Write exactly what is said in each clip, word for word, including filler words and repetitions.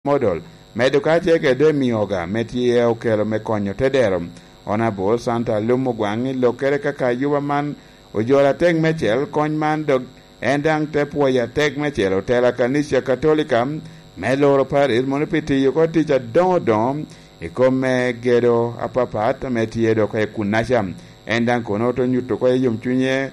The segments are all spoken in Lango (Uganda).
Model, medo kacel kede Demi Oga ame tye okelo me konyo tedero. Honorable Santa Lum Ogwaŋ i lokkere kaka yuba man ojolo atek mecel kony man dok en daŋ te pwoyo atek mecel otela kanica Katolika me loro paris mono pi tiyo oko tic adoŋo doŋo i kom me gedo apapat ame tye dok i kunaca. En daŋ kono te nyuto oko i yomcunye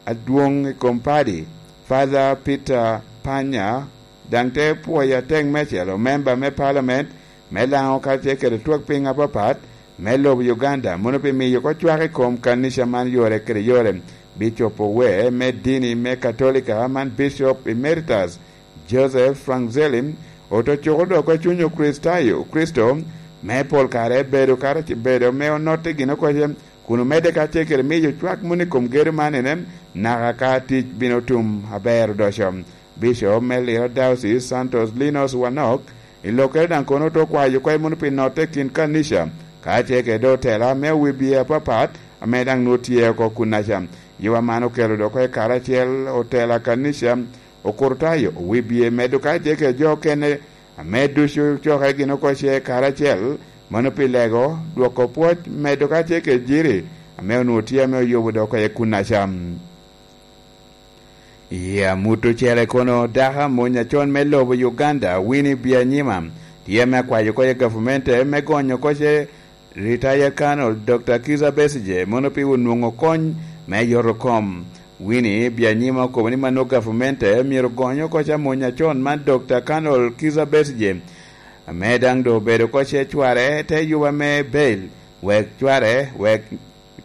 adwoŋ i kom padi, Father Peter Panya, daŋ te pwoyo atek mecel omemba me palamen me Laŋo kacel kede twak piny apapat me lobo Uganda mono pi miyo oko cwak i kom kanica man yore kede yore. Bicop owe me dini me Katolika man Bicop Emeritus Joseph Franzelli oto cuko dok i cuny Okricitayo, Kricito, me pol kare bedo kara-, bedo me onotte gin okoce kun omedde kacel kede miyo cwak moni i kom gedo man ene, naka ka tic bino tum aber odoco. Bicop me Lira Diocese Santos Linus Wanok i lokkere daŋ kono oto kwayo kwe mono pi notte i kin kanica, kacel kede otela me wibye apapat ame daŋ nwoŋo tye oko kunaca. Yuba man okelo dok i karacel otela kanica Okurtayo, wibye medo kacel kede jo okene ame ducu cokere gin oko ce karacel, mano pi lego, dwoko pwoc, medo kacel kede jiri ame onwoŋo tye ame oyubo dok oko i kunaca. I amut ocele kono, dako amony acon me lobo Uganda, Winnie Byanyima, tye ame akwayo oko i gavumenti me gonyo oko ce Retired Colonel Doctor Kizza Besigye mono pi onwoŋo kony me yoto kom. Winnie Byanyima okobo ni mano gavumenti myero ogony oko ca mony acon man Doctor Colonel Kizza Besigye, ame daŋ doŋ obedo oko ce cware te yuba me bail, wek cware, wek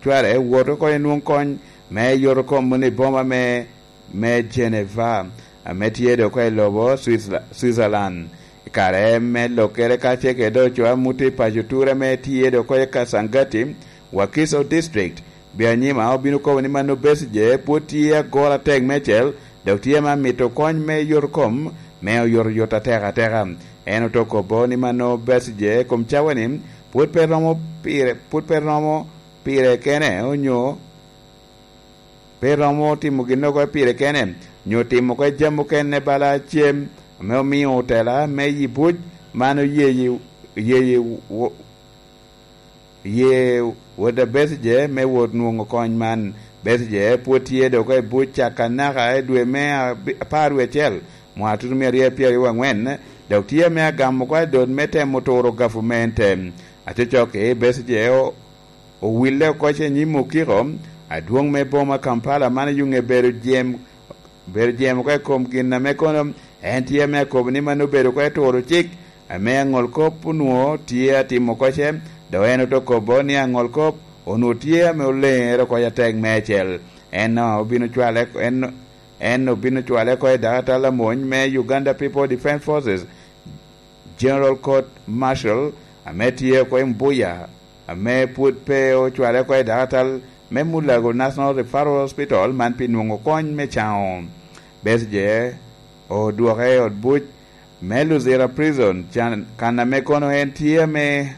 cware wot oko i nwoŋ kony me yoto kom mono i boma me me Geneva, ame tye dok oko i lobo Switzerla-, Switzerland. I kare me lokkere kacel kede ocoa muto i paco Ture ame tye dok oko i Kasangati, Wakiso District, Byanyima obino kobo ni mano Besigye pwod tye agoro atek mecel, dok tye ame amito kony me yot kom me oyotoyot atek ateka. En oto kobo ni mano Besigye kom cawa-ni pwod pe romo pire, pwod pe romo pire kene onyo pe romo timo ginnoro pire kene, nyo timo oko jami okene bala cem ame omio otela me yi buc man oye, oye, oye wot a Besigye me wot nwoŋo kony man. Besigye pwod tye dok i buc caka naka i dwe me abi-, apar wie acel, mwaka tutumia aryo apyer aryo wangwen, dok tye ame agamo oko adot me temo turo gavumente. Acocok-ki, Besigye o-, owille oko i nyim okiko adwoŋ me boma Kampala, man oyuŋe bedo jem, bedo jem oko i kom gin ame kono en tye ame akobo ni man obedo oko i turo cik ame aŋol kop onwoŋo tye atimo oko ce, dok en oto kobo ni aŋol kop onwoŋo tye ame oleŋere oko atek meicel. En obino cwale, en, en obino cwale oko i dakatal amony me Uganda People Defence Forces, General Court Martial, ame tye oko i Mbuya, ame pwod pe ocwale oko i dakatal me Mulago National Referral Hospital man pi nwoŋo kony me caŋo. Besigye odwoke i ot buc me Luzira Prison, can-, kan ame kono en tye ame,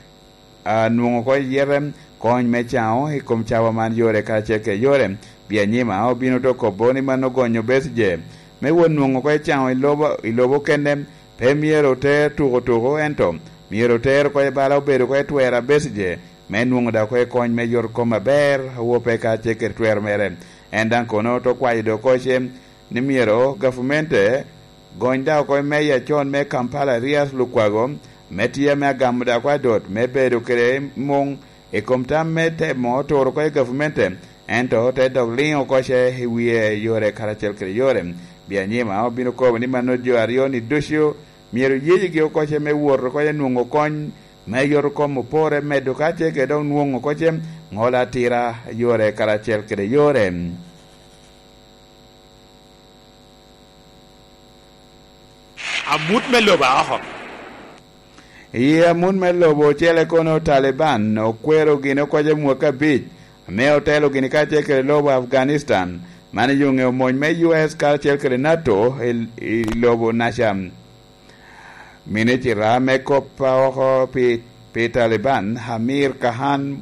a, nwoŋo oko yete kony me caŋo i kom cawa man yore karacel kede yore. Byanyima obino to kobo ni man ogonyo Besigye me wot nwoŋo oko i caŋo i lobo, i lobo kene. Pe myero oter tuko tuko, ento myero oter oko i bala obedo oko i twero a Besigye, me nwoŋo dok oko i kony me yot kom aber, awope kacel kede twero mere. En daŋ kono to kwayo dok oko ce ni myero gavumente gony dok oko i meya acon me Kampala, Erias Lukwago, me tye ame agamo dok oko adot me bedo kede muŋ i kom tam me temo turo oko i gavumente, ento te dok liŋo oko ce i wie yore karacel kede yore. Byanyima obino kobo ni mano jo aryo-ni ducu myero yeyigi oko ce me wot oko ce nwoŋo kony me yot kom opore medo ka ce kede dok nwoŋo oko ce ŋolo atira yore karacel kede yore. Amut me lobo a oko. I amut me lobo ocele kono, Taliban okwero gin oko ce mwaka abic, ame otelo gini kacel kede lobo Afghanistan, man oyuŋe omony me U S karacel kede nato i, i lobo naca. Minicita me kop a oko pi, pi Taliban, Amir Kahan,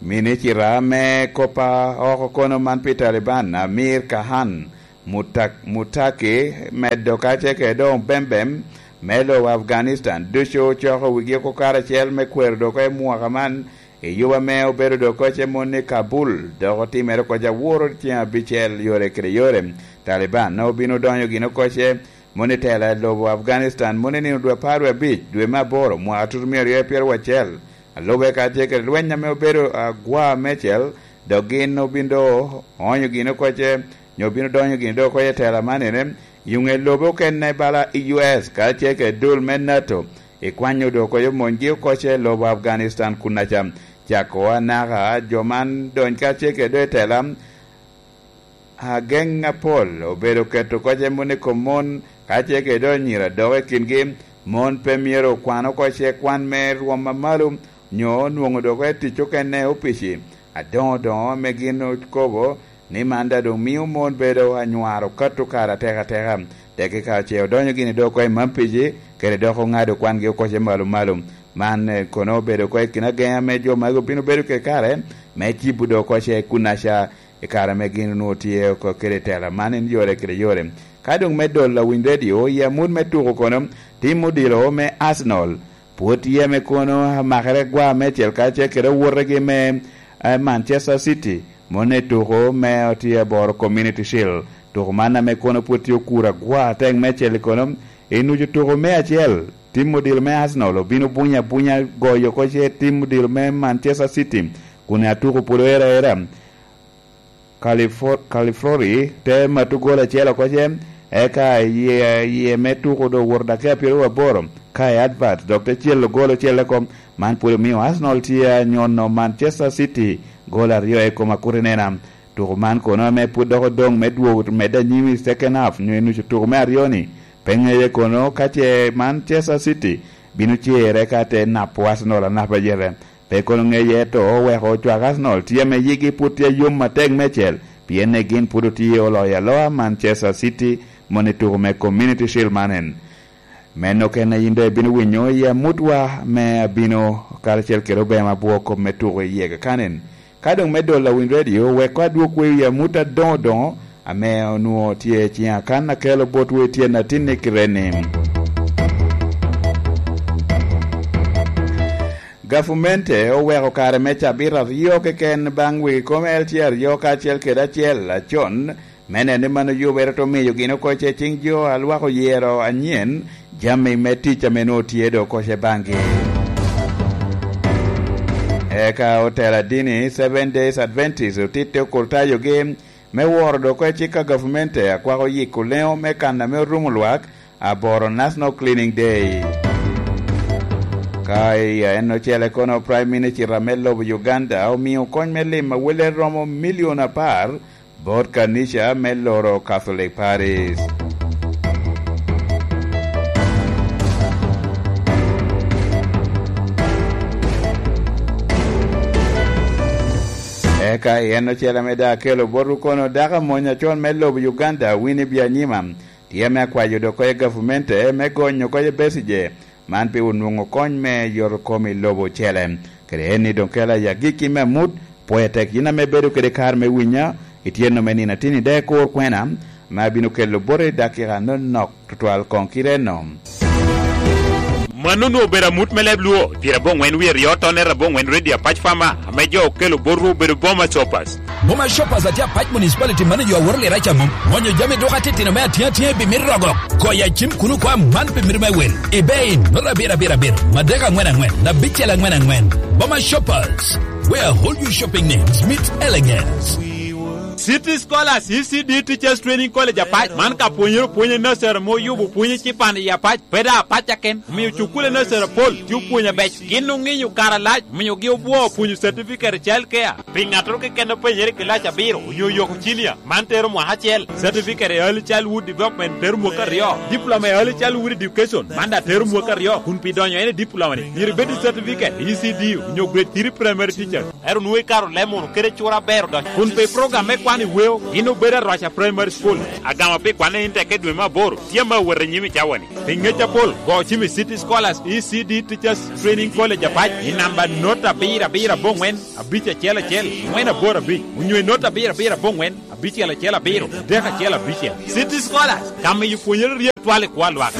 Minicita me kop a oko kono man pi Taliban, Amir Kahan, Mutak-, Mutaki meddo ka ce kede doŋ bembem me lobo Afghanistan ducu ocoko wigi oko karacel me kwero dok i mwaka man, i yuba ame obedo dok koce moni i Kabul, dok otimere koc aworo tyen abicel yore kede yore. Taliban obino donyo gin okoce moni tela i lobo Afghanistan moni nino dwe apar wie abic, dwe me aboro, mwaka tutumia aryo pyeraryo acel. Alube ka tye kede lweny ame obedo agwa mecel, dok gin obin do oonyo gin okoce, nyo obino donyo gin do okoce i tela man ene, yuŋe lobe okene bala i U S ka tye kede dul me nato, i kwanyo do okoce monygi okoce i lobo Afghanistan kun aca cako anaka jo man dony ka tye kede do i tela. Ageŋ apol obedo keto koc e mon i kom mon, ka ce kede anyira dok i kingi, mon pe myero okwan oko ce kwan me rwom amalo, nyo onwoŋo dok e tic okene opici. Adoŋo doŋo ame gin okobo ni man daŋ doŋ mio mon bedo anywaro kato kare atek ateka. Tekki ka ce odonyo gini dok oko i man pici, kede dok oŋado kwangi oko ce malo malo. Man, eh, kono obedo oko i kin ageŋ ame jo magi obino bedo kede kare me cibo dok oko ce kun aca i kare ame gin onwoŋo tye oko kede tela man en yore kede yore. Ka doŋ me dolo awiny redio, i amut me tuko kono, tim odilo me Arsenal pwod tye ame kono amakere gwa mecel kacel kede owotegi me, eh, Manchester City, moni tuko me otye aboro Community Shield. Tuko man ame kono pwod tye okuro agwa atek mecel kono, i nucu tuko me acel, tim odilo me Arsenal obino bunyo abunya goyo oko ce tim odilo me Manchester City, kun atuko pwod oero aera. Califo-, Califlori te mato gol acel oko ce, eka iye, iye me tuko doŋ owoto dakika pyeraryo aboro, ka i advert dok te celo gol ocel oko. Man pwod omio Arsenal tye anyono Manchester City gol aryo i kom akuti nena. Tuko man kono ame pwod dok odoŋ me dwogo medde anyim i second half nyo i nucu tuko me aryo-ni, pe ŋeye kono ka ce Manchester City bino cere ka te napo Arsenal anapa yete. Pe kono ŋeye, ento oweko ocwak Arsenal tye ame yigi pwod tye yom atek mecel, pien ne gin pwod otye oloyo aloa Manchester City moni tuko me Community Shield man en. Meno kene yin doŋ ibino winyo i amutwa me abino karacel kede obema abwor kop me tuko i yege kanen. Ka doŋ me dolo awiny redio, wek adwog we i amut adoŋo doŋo ame onwoŋo tye i ciŋa kan akelo botwu i tyen atinni kite ni. Gavumenti oweko kare me cabit aryo keken baŋ wegi kom L T aryo kacel kede acel acon, me neno ni mano yubere te miyo gin oko ce ciŋ jo a lwak oyero anyen jami me tic ame nwoŋo tye do koce baŋgi. Eka otela dini Seven Days Adventist otitte okurtayogi me woro dok oko i cik a gavumenti a kwako yiko leŋo me kan ame orumo lwak, aboro National Cleaning Day. Ka i en ocele kono, Prime Minister me lobo Uganda omio kony me lim awele romo milion apar bot kanica me loro Catholic Paris. Eka i en ocele ame daŋ akelo botwu kono dako amony acon me lobo Uganda, Winnie Byanyima, tye ame akwayo dok oko i gavumenti me gonyo oko i Besigye, man pi onwoŋo kony me yoto kom i lobo ocele. Kede en ni doŋ kela i agikki me amut, pwoya tek yin ame bedo kede kare me winya, itye nome nino atini de kur kwena, ame abino kelo boti i dakika anonok tutwal koŋ kite eno. Mano onwoŋo obedo amut me leb Luo, pyerabongwen wie aryo tonnet abongwen Radio Apac Farmer, ame jo okelo botwu obedo Boma Shoppers. Boma Shoppers atye Apac Municipality manager a woro lira ca mom. Gonyo jami duka titino me atinga tinga i bimit rogok. Goyo acim kun okwa man pi mito me wil. Ibe in, nota abiro abiro abiro, madek angwen angwen, abicel angwen angwen. Boma Shoppers, where all your shopping needs meet elegance. City Scholars, E C D Teachers Training College Apac, man ka pwonyere opwonyo nursery mo yubo pwonyo cipan i Apac, pe da Apac aken, omiyo cukule nursery apol tye opwonyo abec. Gin oŋinyo kare alac, omiyo gi obwo opwonyo certificate i child care. Pi ŋattoro keken openyere i kilac abiro onyo yoko cinia, man tero mwaka acel, certificate i early childhood development tero mwaka aryo, diploma i early childhood education, man da tero mwaka aryo, kun pi donyo en i diploma ni, myero ibed i certificate i E C D onyo grade three primary teacher. Ero nwoŋo ikaro leb munu kede cura aber odonyo. Kun pi program me kwan i weo, gin obedo Arwaca Primary School. Agama pi kwanne in tekke dwe me aboro, tye ame awot i nyim i cawa-ni. Pi ŋec apol, go cim i City Scholars E C D Teachers Training College Apac i namba not abiro abiro abongwen, abic acel acel, angwen aboro abic, onyo i not abiro abiro abongwen, Bicel acel abiro, dek acel abicel. City Scholars, ka miyo pwonyere ryek twal i kwo a lwak.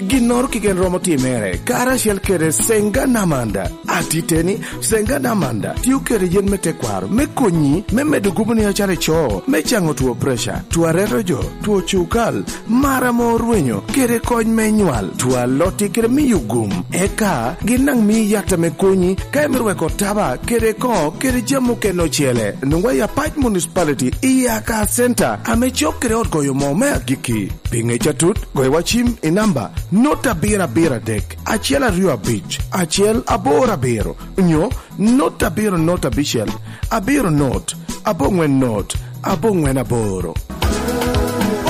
Ginnoro keken romo timere, karacel kede Senga Namanda. Atiteni, Senga Namanda tio kede yen me tekwaro me konyi me medo guboni acalo ico, me caŋo two preca, two areto jo, two cukal, mar ame orwenyo, kede kony me nywal, two alotti kede miyo gum. Eka gin daŋ mii yat ame konyi ka imito weko taba kede koŋo kede jami okene ocele. Nwoŋwa i Apac Municipality i Aka Center ame cok kede ot goyo moo me agikki. Pi ŋec atut, goyo wa cim i namba not abiro abiro adek, acel aryo abic, acel aboro abiro, onyo not abiro not abicel, abiro not, aboŋwen not, aboŋwen aboro.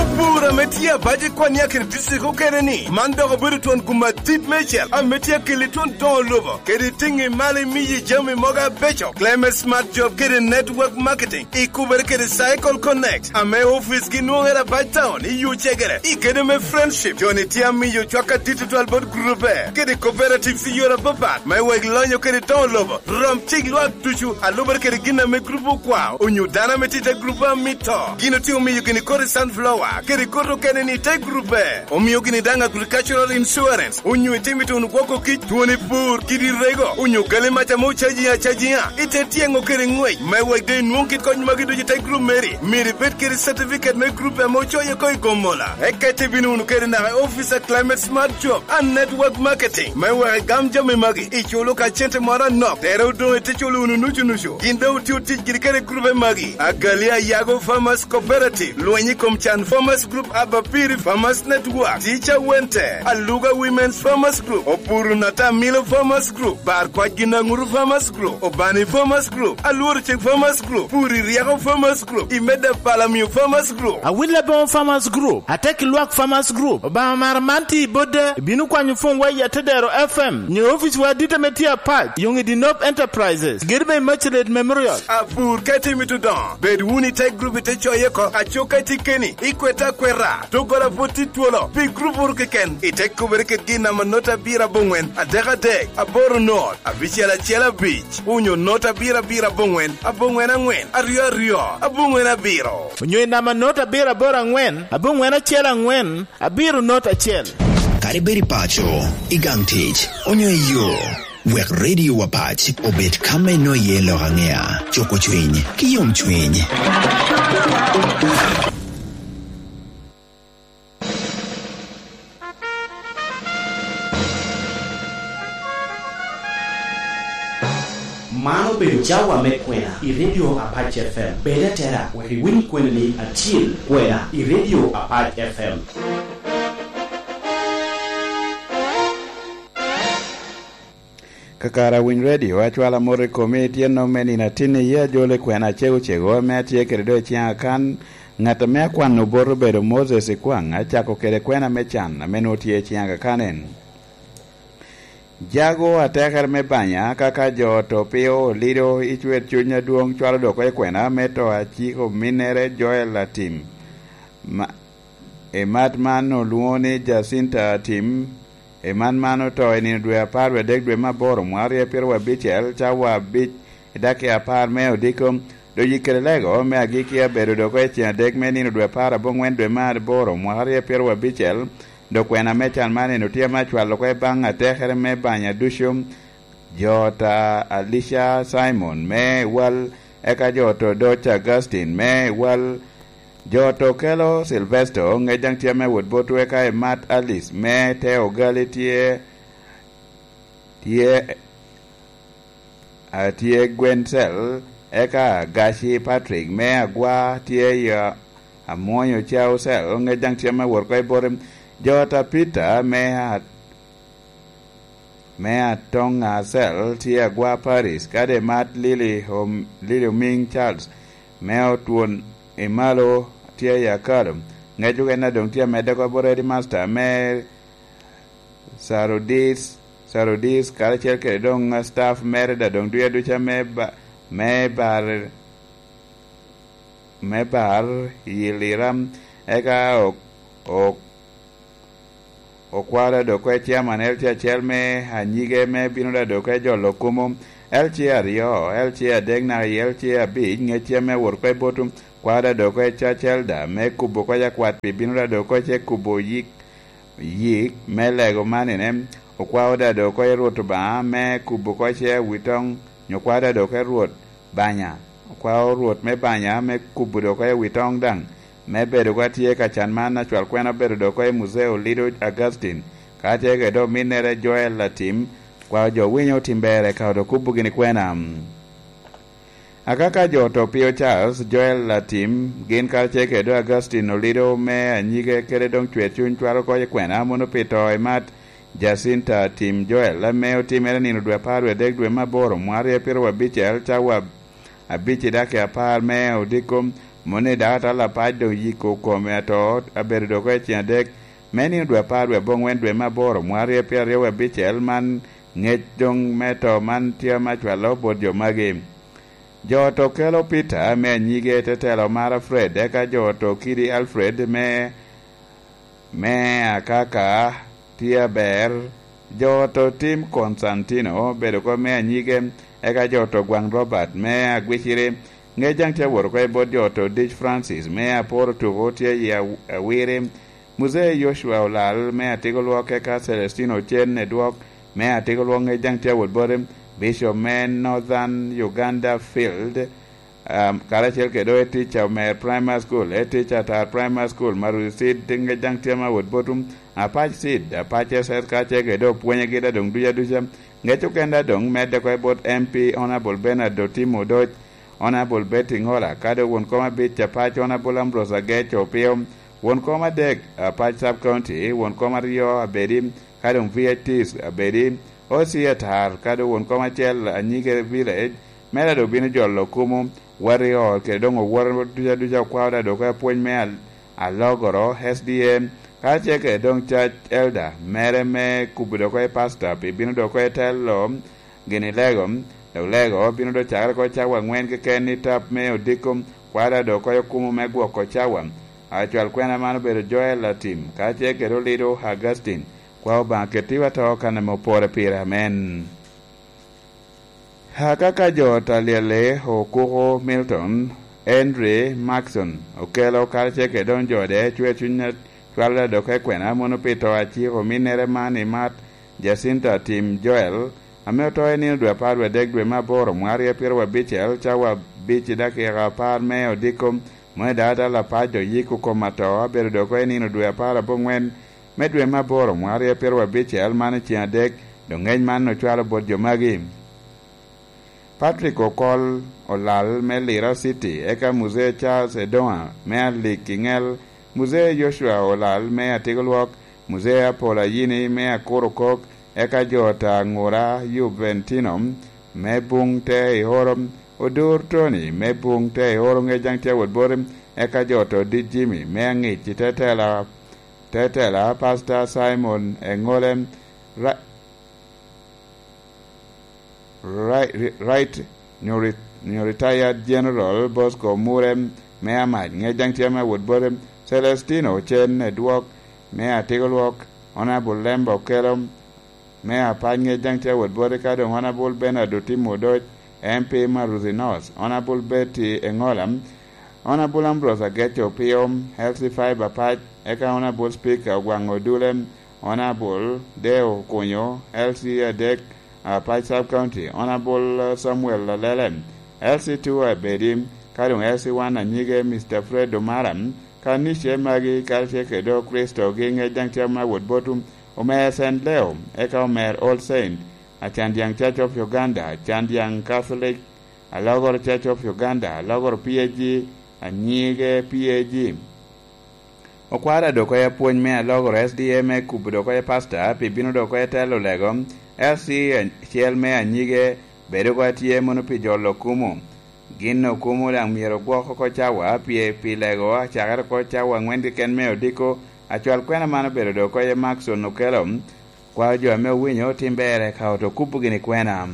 Opur ame tye abac i Kwania kede district okene ni, man dok obedo twon gum adit meicel ame tye akeli twon doŋo lobo kede tiŋi malo imiyi jami mogo abeco. Climate Smart Job kede Network Marketing ikubere kede Cycle Connect ame ofice gi nwoŋere abac town i yo cegere i gedo me Friendship. Joni tye amiyo cwak adit tutwal bot grube kede cooperatives i yore apapat me wek lonyo kede doŋo lobo. Rom cik lwak ducu a lubere kede gin ame grup okwao onyo dano ame tye i te grup a mito. Gin otye omiyo gini koti sunflower kede koti okene ni i te grupe. Omio gini daŋ agricultural insurance onyo itimo ituno gwoko kic, twoni pur, kidi rego, onyo gali mac ame ocaji acajiŋa i te tyeŋo kede ŋwec me wek doŋ inwoŋ kit kony magi ducu i te grup meri. Myero ibed kede certificate me grup ame ocoye oko i Gomola. Eka itebino wunu kede naka i office a Climate Smart Job and Network Marketing me wek igam jami magi. Iculo ka cente moro anok, tere odoŋ ite culo wunu nucu nucu. Gin doŋ otio tic giri kede grube magi: Agali Ayago Farmers Cooperative, Lweny i kom Can Farmers Group, Abapiri Farmers Network, Teacher Wente, Aluga Women's Farmers Group, Opuru Natamilo Farmers Group, Bar Kwac Ginaŋuru Farmers Group, Obani Farmers Group, Alworo Cik Farmers Group, Puri Ryeko Farmers Group, Imeda Palamio Farmers Group. Awil Aboŋo Farmers Group, Atek Lwak Farmers Group, Obaŋa Mara man tye i Bodde, ibino kwanyo pwony wa i Atedero F M, nyo ofice wa adit ame tye apac, Yoŋi Dinop Enterprises, gedo me Immaculate Memorial. Apur ka itye mito doŋo, bed wunu i te grup ite coye oko, aco ka itye keni, ikwete akweta, doggola pwod tye twolo, pi grup oro keken, ite kubere kede gin namba not abiro aboŋwen, adek adek, aboro not, abicel acel abic, onyo not abiro abiro aboŋwen, aboŋwen aŋwen, aryo aryo, aboŋwen abiro. Onyo i namba not abiro aboro aŋwen, aboŋwen acel aŋwen, abiro not acel. Kadi bed i paco, i gang tic, onyo i yo, wek Radio Wapac obed ka me ino iye lok aŋea, cuko cwiny, ki yom cwiny. Man obedo cawa me kwena i Radio Apac F M. Bed atera wek iwiny kwena ni atyel kwena i Radio Apac F M. Kakare awiny redio, acwalo amot i komi, tyen nom me nino atin iye ajolo i kwena acego cego ame atye kede do i ciŋa kan. Ŋat ame akwano bot obedo Moses Ikwaŋ, acako kede kwena me can ame nwoŋo tye i ciŋa kan en. Jago atekere me banya, kaka jo to pio lido i cwer cuny adwoŋ, cwalo dok i kwena me to aciko minnere Joel Atim. Ma, i mat man olwoŋo ni Jacinta Atim, i man man oto i nino dwe apar wie adek dwe me aboro mwaka aryo pyeraryo abicel, cawa abic i dakika apar me odiko. Doŋ yikere lego me agikki abedo dok i ceŋ adek me nino dwe apar aboŋwen dwe me aboro mwaka aryo pyeraryo abicel, dok kwena me can man en otye ame acwalo oko i baŋ atekere me banya ducu. Jo ta Alicia Simon me Wal, eka jo to Doc Augustine me Wal, jo to Kelo Silvesto, ŋec daŋ tye ame wot botwu, eka i Mat Alice me Te Ogali tye, tye, a, tye Gwen Cell, eka Gaci Patrick me Agwa tye i, a, Amwonyo Cau Cell, ŋec daŋ tye ame wot oko i bote. Jo ta Peter me, a, me Atoŋa Cell tye Agwa Paris, kadi Mat Lily Om-, Lily Oming Charles me Otwon i Malo tye i Akalo. Ŋec okene a doŋ tye amedde oko bot Eddie Master me Sarudis, Sarudis, karacel kede doŋ staff mere da doŋ duya duca me ba-, me bar, me bar i Lira, eka ok, ok, okwalo dok kwe chairman L T acel me anyige me bino da dok kwe jolo kumo, L C aryo, L C adek naka i L C abic, ŋecce ame awot oko i bot kwao da dok oko i Churchill da, me kubo oko i akwat pi bino da dok oko i kubo yik, yik me lego manine, okwao da dok oko i Rwot Obaŋa, me kubo oko i wi toŋ, nyo okwao da dok oko i Rwot Banya, okwao Rwot me Banya, me kubo dok oko i wi toŋ daŋ, me bedo oko atye ka can man, acwal kwena obedo dok oko i Muzeo Lido Augustine, ka tye kede ominnere Joel Latim, kwao jo winyo otim ber eka odo kubo gini kwena. Akaka jo to pio Charles, Joel Latim, gin karacel kede Augustine Olido me anyige kede doŋ cwer cuny cwalo oko i kwena mono pi to i mat Jacinta Tim Joel, ame otimere nino dwe apar wie adek dwe me aboro, mwarre pyeraryo abicel, cawa abic i dakika apar me odiko, mono i dakatala apac doŋ yiko kome ato abedo dok oko i ceng adek, me nino dwe apar wie aboŋwen dwe me aboro, mwarre pyeraryo wie abicel, man ŋec doŋ me to man tye ame acwalo bot jo magi. Jo to kelo Peter me anyige tetelo mara Fred, eka jo to kidi Alfred me, me akaka tye aber. Jo to tim Constantino bedo oko me anyige, eka jo to gwaŋ Robert me agwiciri. Ŋec daŋ tye awot oko i bot jo to dic Francis me aporo tuko tye i aw-, awiri. Muzee Yocua Olal me Atigolwok, eka Celestino Ocen Edwok me Atigolwok, ŋec daŋ tye awot bote. Bishop me Northern Uganda Field, um, karacel kede oe tica Omer Primary School, e tica Atar Primary School, Maruzi Seed, ŋec daŋ tye ma awot botum. Apac Seed, Apac S S, karacel kede opwonyegi da doŋ duca duca. Ŋec okenda doŋ medde oko i bot M P Honorable Bernard Otim Odoc, Honorable Betty Ngola, kadi won kom abic Apac Honorable Ambrose Agec Opio, won kom adek Apac Sub County, won kom aryo abedi, ka doŋ V I Ts abedi, O C atar, ka doŋ won kom acel anyige village, mere doŋ bino jolo kumo, wati ot, kede doŋ owote duca duca okwao da doŋ oko apwony me al-, alogoro, S D A, karacel kede doŋ church elder, mere me kubo doŋ oko i pastor, pi bino doŋ oko i telo, gin i lego, dok lego bino doŋ cakere oko cawa aŋwen keken i tap me odiko, kwao da doŋ oko i okumo me gwoko cawa. Acwal kwena man obedo Joel Latim, karacel kede Olido Augustine, Kwa Obaŋa kettiwa to kan ame opore pire. Amen. Akaka jo Talyelle, Okuko Milton, Henry Maxon, okelo karacel kede doŋ jo de cwer cuny a cwalo da doŋ oko i kwena mono pi to aciko ominnere man i mat Jacinta Tim Joel, ame oto i nino dwe apar wie adek dwe me aboro, mwarre pyeraryo abicel, cawa abic i dakika apar me odiko, mono i daŋ atala apac doŋ yiko kom ato, abedo doŋ oko i nino dwe apar aboŋwen me dwe me aboro, mwarre pyeraryo abicel, man i ceng adek, doŋ ŋec man ocwalo bot jo magi. Patrick Okol Olal me Lira City, eka Muzee Charles Edoŋa me Alik i Ŋel, Muzee Yocua Olal me Atigolwok, Muzee Apol Ayini me Akurokok, eka jo ta Aŋura Juventino me Buŋ Te i Oro, Odur Tony me Buŋ Te i Oro, ŋec daŋ tye awot boti, eka jo to dit Jimmy me Aŋic i Tetela, Tetela, Pastor Simon Eŋole, Ra-, Ri-, Ri-, Right, nyo ri-, nyo Retired General Bosco Mure me Amac, ŋec daŋ tye me awot bote, Celestino Ocen Edwok me Atigolwok, Honorable Lemba Okelo me Apac, ŋec daŋ tye awot bote, ka doŋ Honorable Bernard Otim Odoc, M P Maruthi North, Honorable Betty Engola, Honorable Ambrose Ageco Opio, L C five Apac, eka Honorable Speaker Ogwaŋ Odule, Honorable Deo Okunyo, L C adek, Apac Sub County, Honorable Samuel Alele, L C two Abedi, ka doŋ L C one anyige Mister Fred Omara, kanice magi karacel kede Okricitogi ŋec daŋ tye me awot botu, Omer Saint Leo, eka Omer All Saint, Acandyaŋ Church of Uganda, Acandyaŋ Catholic, Alogoro Church of Uganda, Alogoro P A G, anyige P A G. Okwara dok oko apwony me Alogoro S D A me kubo dok oko pastor, pi bino dok oko telo lego, L C acel me anyige, bedo oko atye mono pi jolo okumo. Gin okumo daŋ myero ogwok oko cawa, pi, pi lego, acakere oko cawa aŋwen keken me odiko, acwal kwena man obedo dok oko Maxon Okelo, kwao jo ame owinyo otim ber eka oto kubo gini kwena.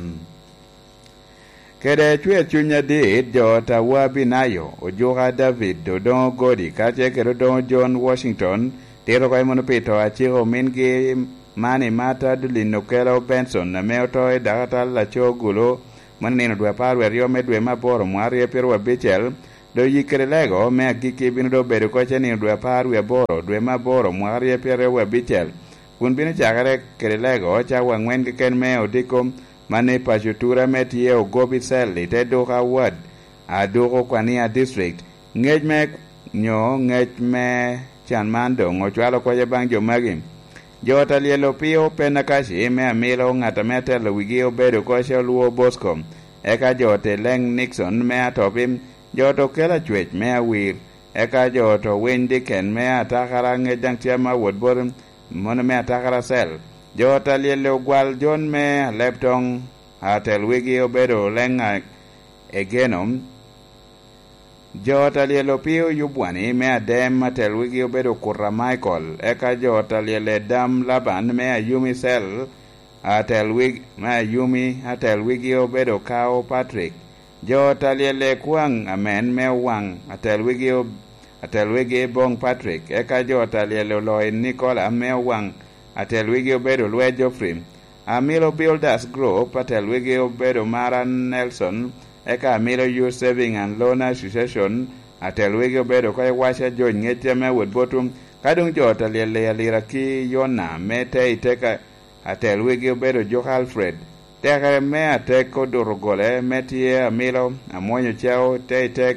Kede cwer cuny adit, jo Tawa Binayo, Ojuka David, Odoŋo Godi, kacel kede Odoŋo John Washington, tito oko i mono pi to aciko omingi Mani Martha Dulin Okelo Benson, ame oto i dakatal laco Gulu, Mano nino dwe apar wie aryo me dwe me aboro mwaka aryo pyeraryo abicel, dok yik kede lego me agikki bino dok bedo oko cen nino dwe apar wie aboro dwe me aboro mwaka aryo pyeraryo abicel, kun bino cakere kede lego cawa angwen keken me odiko, man i paco tura me tye Ogobi Cell i te duka Ward, Aduku Kwania District. Ngec me nyo ngec me can man doŋ ocwalo kocce baŋ jo magi. Jo ot a lyel Opio Penakaci me Amilo, ŋat ame atelo wigi obedo oko Col Wor Bosco, eka jo ot Eleŋ Nixon me Atopi, jo ot Okel Acwec me Awir, eka jo ot Owiny Diken me Atakara, ŋec daŋ tye ame awot bot mono me Atakara Cell. Jo ot a lyel Ogwal Jon me Alebtoŋ, atel wigi obedo Oleŋ a Egeno. Jo ot a lyel Opio Yubwani me Adem, atel wigi obedo Kuta Michael, eka jo ot a lyel Edam Laban me Ayumi Cell, atel wig-, me Ayumi, atel wigi obedo Kao Patrick. Jo ot a lyel Ekwaŋ Amen me Owaŋ, atel wigi ob-, atel wigi Boŋ Patrick, eka jo ot a lyel Oloi Nicola me Owaŋ, atel wigi obedo Lwe Geoffrey. Amilo Builders Group, atel wigi obedo Mara Nelson, eka Amilo Youth Saving and Loan Association, atel wigi obedo oko Iwaca George ŋec ame awot botwu, ka doŋ jo ot a lyel Alira ki Yona me te i teka, atel wigi obedo Juko Alfred. Tekere me atek oduto gole me tye Amilo, Amwonyo Cao, te i tek,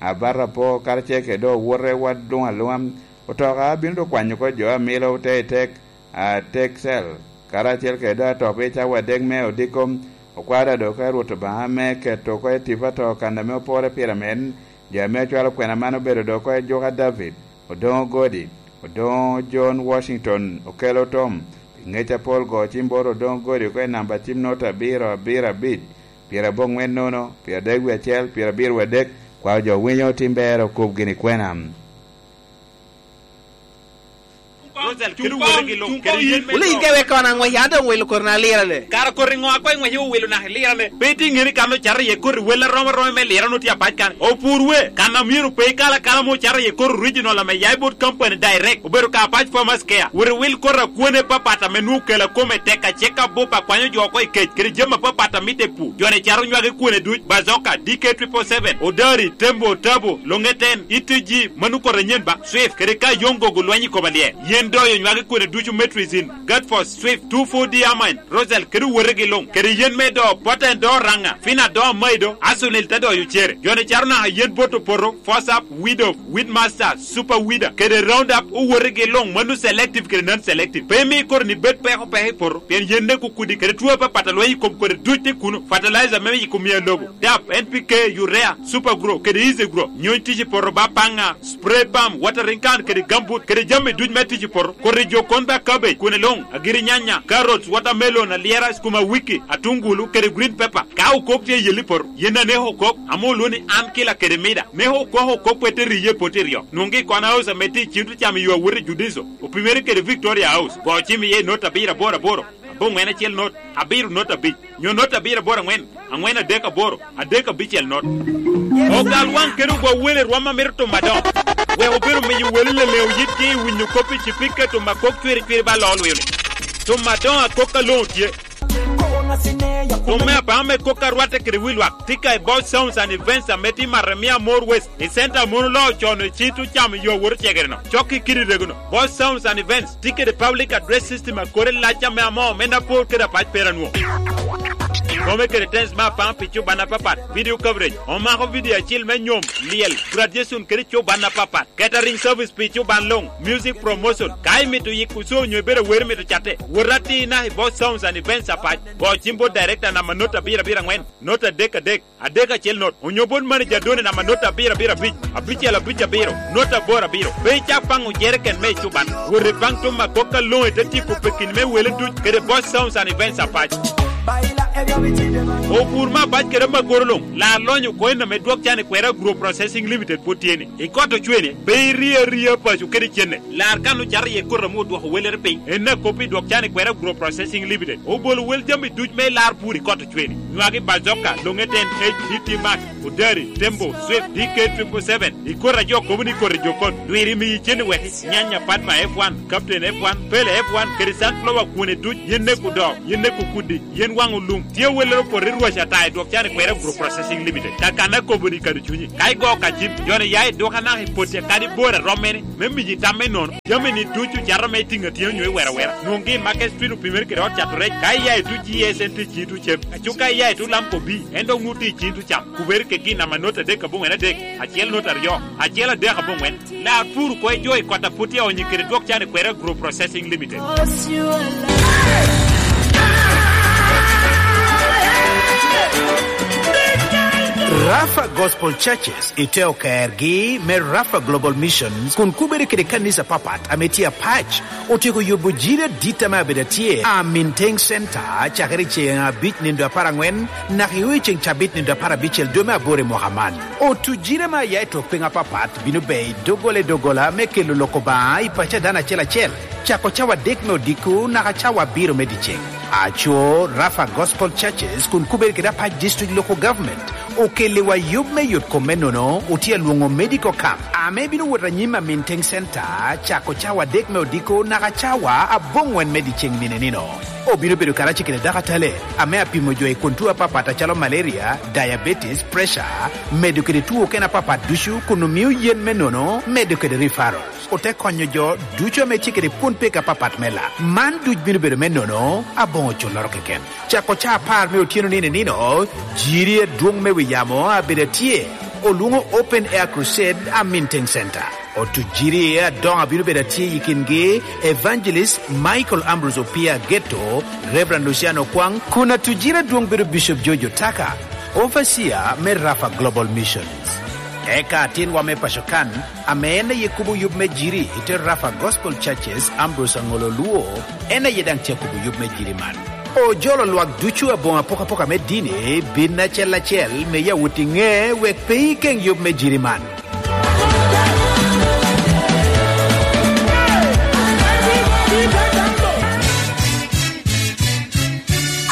Abato Apo, karacel kede dok owote wad luŋ aluŋa. Otoka bino dok kwanyo oko jo Amilo, te i tek, Atek Cell, karacel kede dok Atopi cawa adek me odiko. Okwada dok oko i Rwot Obaŋa me keto oko i tipo ato kan ame opore pire amen. Jo ame ocwalo kwena man obedo dok oko i Juka David, Odoŋo Godi, Odoŋo John Washington, Okelo Tom, pi ŋec apol go cim bot Odoŋo Godi oko i namba cim not abiro abiro abic, pyeraboŋwen nono, pyeradek wie acel, pyerabiro wie adek, kwao jo winyo tim ber okub gini kwena. Rosel, kede woro gi lok, kede yen me Wulin dok. Ke wek kono aŋwec, an doŋ wilo kori na lirane. Kara kori ŋo a koŋ iŋwece owilo naka ilirane? Pe itye ŋeni kan ocato iye koti wel arom aroma me lirane otye apac kan. Opur we, kan a myero pe ikal akala mo ocato iye koti original ame ya i bot company direct, obedo ka Apac Farmers Care. Wot iwil koti akwene apapat ame nwoŋo kela kome tek, acek abup akwanyo jo oko i kec, kede jami apapat a mitte i pur. Jo-ni cato nywage kwene duc, Bazoka, D K triple seven, Odari, Tembo, Tabo, Longeten, E T G, mano koti anyen ba, Swift, kede ka Yongo gulwenyo i kom alyel. Yen doyo nywage kwene ducu, Metrizin, Gatfos, Swift, two four D Amine, Rosel, kede owotegi luŋ, kede yen me do, Poten do Raŋa, Fina do Maido, Asunil te doyo cere. Jo-ni cato naka yen bot opoto, Fosap, Weed of, Weedmaster, Super Weeder, kede Roundup, owotegi luŋ, mano selective kede non-selective. Pe imi koti-ni bed peko peko i poto, pien yen nek okudi, kede two apapat a lweny i kom koti duc tye kuno, fertilizer me yiko miya lobo, dap, N P K, urea, Super Grow, kede Easy Grow, nyony tic i poto ba paŋa, spray pump, watering can, kede gambut, kede jami duc me tic i poto, koti jo kon ba cabbage, kwene luŋ, agiri nyanya, carrots, watermelon, alyera, skuma wiki, atungulu, kede green pepper. Ka okok tye i yelli poto, yen aneko okok, ame olwoŋo ni an kila kede mida. Neko okok okok pe te riye pot i ryo. Nwoŋgi i Corner House ame tye i cim te camo yo awot i Judiso, opimere kede Victoria House. Go cim iye i not abiro aboro aboro, aboŋwen acel not, abiro not abic, nyo not abiro aboro aŋwen, aŋwen adek aboro, adek abicel not. Ogal waŋ kede ogwa wele rwom a mito timo adoŋo. Wek obedo miyo wele leleŋo yitgi i winyo kop i cipika timo akok cwiri cwiri ba loo lwio-ni. Timo adoŋo akok aloŋo tye. Tum me apaŋo me kok a rwatte kede wi lwak tye ka i Boss Sounds and Events ame tye i Maremia More West, i center a mon oloo con i cit ocamo yo awot ocegere-no. Cok i kidi rego-no, Boss Sounds and Events tye kede public address system a kore lac ame amoo me Napor kede Apac Peranwo. Kome kede tens me apaŋo pi cuban apapat, video coverage, omako video acil me nyom, lyel, graduation kede cuban apapat. Catering service pi cuban luŋ, music promotion. Ka imito yiko show onyo ibedo awero mito catte, wot atir naka i Boss Sounds and Events Apac. Go cim bot director namba not abiro abiro aŋwen, not adek adek, adek acel not, onyo bot manager Done namba not abiro abiro abic, abicel abic abiro, not aboro abiro. Pe icak paŋo jereken me cuban. Wot ipaŋ tum akok aloŋo i te tyeko pekini me wele duc kede Boss Sounds and Events Apac. Opur me apac kede amagoro luŋ, lar lonyo oko en ame dwok can i kwera Agro Processing Limited pwod tye ni. I kot ocwene, pe irie aria paco kede cene. Lar kan ocato iye koti ame odwoko welere piny. En akop i dwok can i kwera Agro Processing Limited. Obolo wel jami duc me lar pur i kot ocwene. Nywagi Bazoka, Longeten, H T T Max, Odari, Tembo, Swift, D K triple seven. I koti a jo kobo ni koti jo kot, lwiri miyi cen i weki, Nyanya Padma F one, Captain F one, Pele F one, kede Sunflower kwone duc, yen nek odoo, yen nek okudi, yen waŋ olum. Tye awellere opoto i rwac ata i dwok can i kwera Agro Processing Limited. Kakanna kobo ni kado cunyi. Ka igo ka cim, joni ya i duka naka i potti akadi bor a romme ni, me miyi tam me nono. Jami ni ducu cato me tiŋ atyeno nyo i wera wera. Nwoŋgi i Market Street opimere kede ot cato rec. Ka iya i tuc G S N T ci tuc cem. Aco ka iya i tuc Lamco B, en dok nwoŋo tye i ci tuc cam. Kubere kegi namba not adek aboŋwen adek, acel not aryo, acel adek aboŋwen. Lar pur ko i jo i kot a put tye onyi kede dwok can i kwera Agro Processing Limited. Rafa Gospel Churches i te okergi me Rafa Global Missions kun kubere kede kanisa papat ame tye apac otyeko yubo jiri adit ame abedo atye a Minteng Center cakere i ceŋ abic nindo apar aŋwen naka i ceŋ cabit nindo apar abicel dwe me aboro i mwaka man. Otu jiri ame aya i tok piny apapat bino bea i doggola i doggola me kelo lok Obaŋa i paco a dano acel acel. Cako cawa adek me odiko naka cawa abiro me dyeceŋ. Aco, Rafa Gospel Churches kun kubere kede apac District Local Government okelliwa yub me yot kom me nono otye alwoŋo Medical Camp ame bino wot anyim a Minteng Center cako cawa adek me odiko naka cawa aboŋwen me dyeceŋ nino nino. Obino bedo karacel kede dakatale ame apimo jo i kun tuo apapat acalo malaria, diabetes, pressure, medo kede tuo okene apapat ducu kun omio yen me nono medo kede referral. Ote konyo jo ducu ame tye kede kwon peko apapat me lak. Man duc bino bedo me nono aboŋo culloro keken. Cako caa apar me otyeno nino i nino, jiri adwoŋ me wi yamo abedo atye, olwoŋo Open Air Crusade a Minting Center. Otu jiri adoŋo abino bedo atye i kingi Evangelist Michael Ambrose Opia Ageto, Reverend Luciano Kwang, kun atu jiri adwoŋ bedo Bishop George Otaka, Overseer me Rafa Global Missions. Eka atinwa me paco kan, ame en aye kubo yub me jiri i te Rafa Gospel Churches, Ambrose Angolo Luo, en aye daŋ tye akubo yub me jiri man. Ojolo lwak ducu aboŋo apokapoka me dini bin acel acel me yawot i ŋe wek pe ikeŋ yub me jiri man.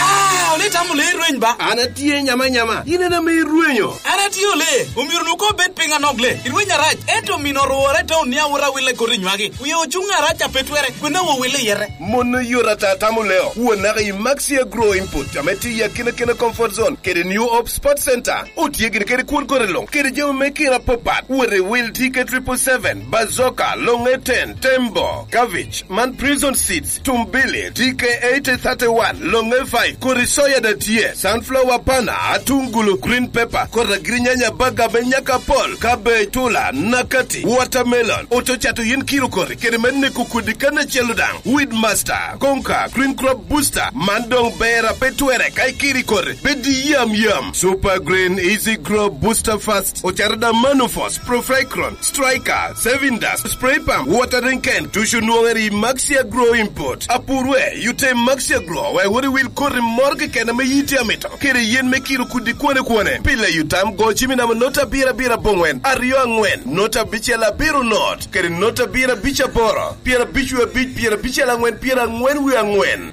Ah, ole itamo le irweny ba? An atye nyama nyama, in en ame irwenyo. An atye ole, omyero nu ko bed piny anok le. Irweny arac, ento mino orwore te onia wot awille koti nywagi. Wie ocuŋ arac a pe twere, kwena wo wille yete. Mon oyot ata tamo leo, won naka i Maxia Grow Input, ame tye i akinakina Comfort Zone, kede New Hope Sport Center. Otye gin kede kwon kore luŋ, kede jami me kina apapat. Wot i wil T K triple seven, Bazoka, Longe ten, Tembo, Cabbage, man Prison Seeds, Tumbili, T K eighty thirty-one, Longe five, kodi soya da tye, sunflower pana, atungulu, green pepper, kodi agirinyanya baga me nyaka apol, cabbage, tula, nakati, watermelon, oto cato yen kiro kodi, kede me neko kodi kan acel daŋ, Weed Master, Konka, Green Crop Booster, man doŋ ber a pe twere ka ikiri kodi, pe di yam yam. Super Green Easy Grow Booster Fast, ocato da Manufos, Profricron, Striker, Saving Dust, Spray Pump, Watering Can, ducu nwoŋere i Maxia Grow Import. Apurwe, yute Maxia Grow, wek wot iwil koti moro keken ame yiti amito, kede yen me kiro kudi kwone kwone. Pile yutam go cimi namo nota abiro abiro aboŋwen, aryo aŋwen, nota abicel abiro not, kede nota abiro abic aboro, pyera abic wie abic, pyera abicel aŋwen, pyera aŋwen wie aŋwen.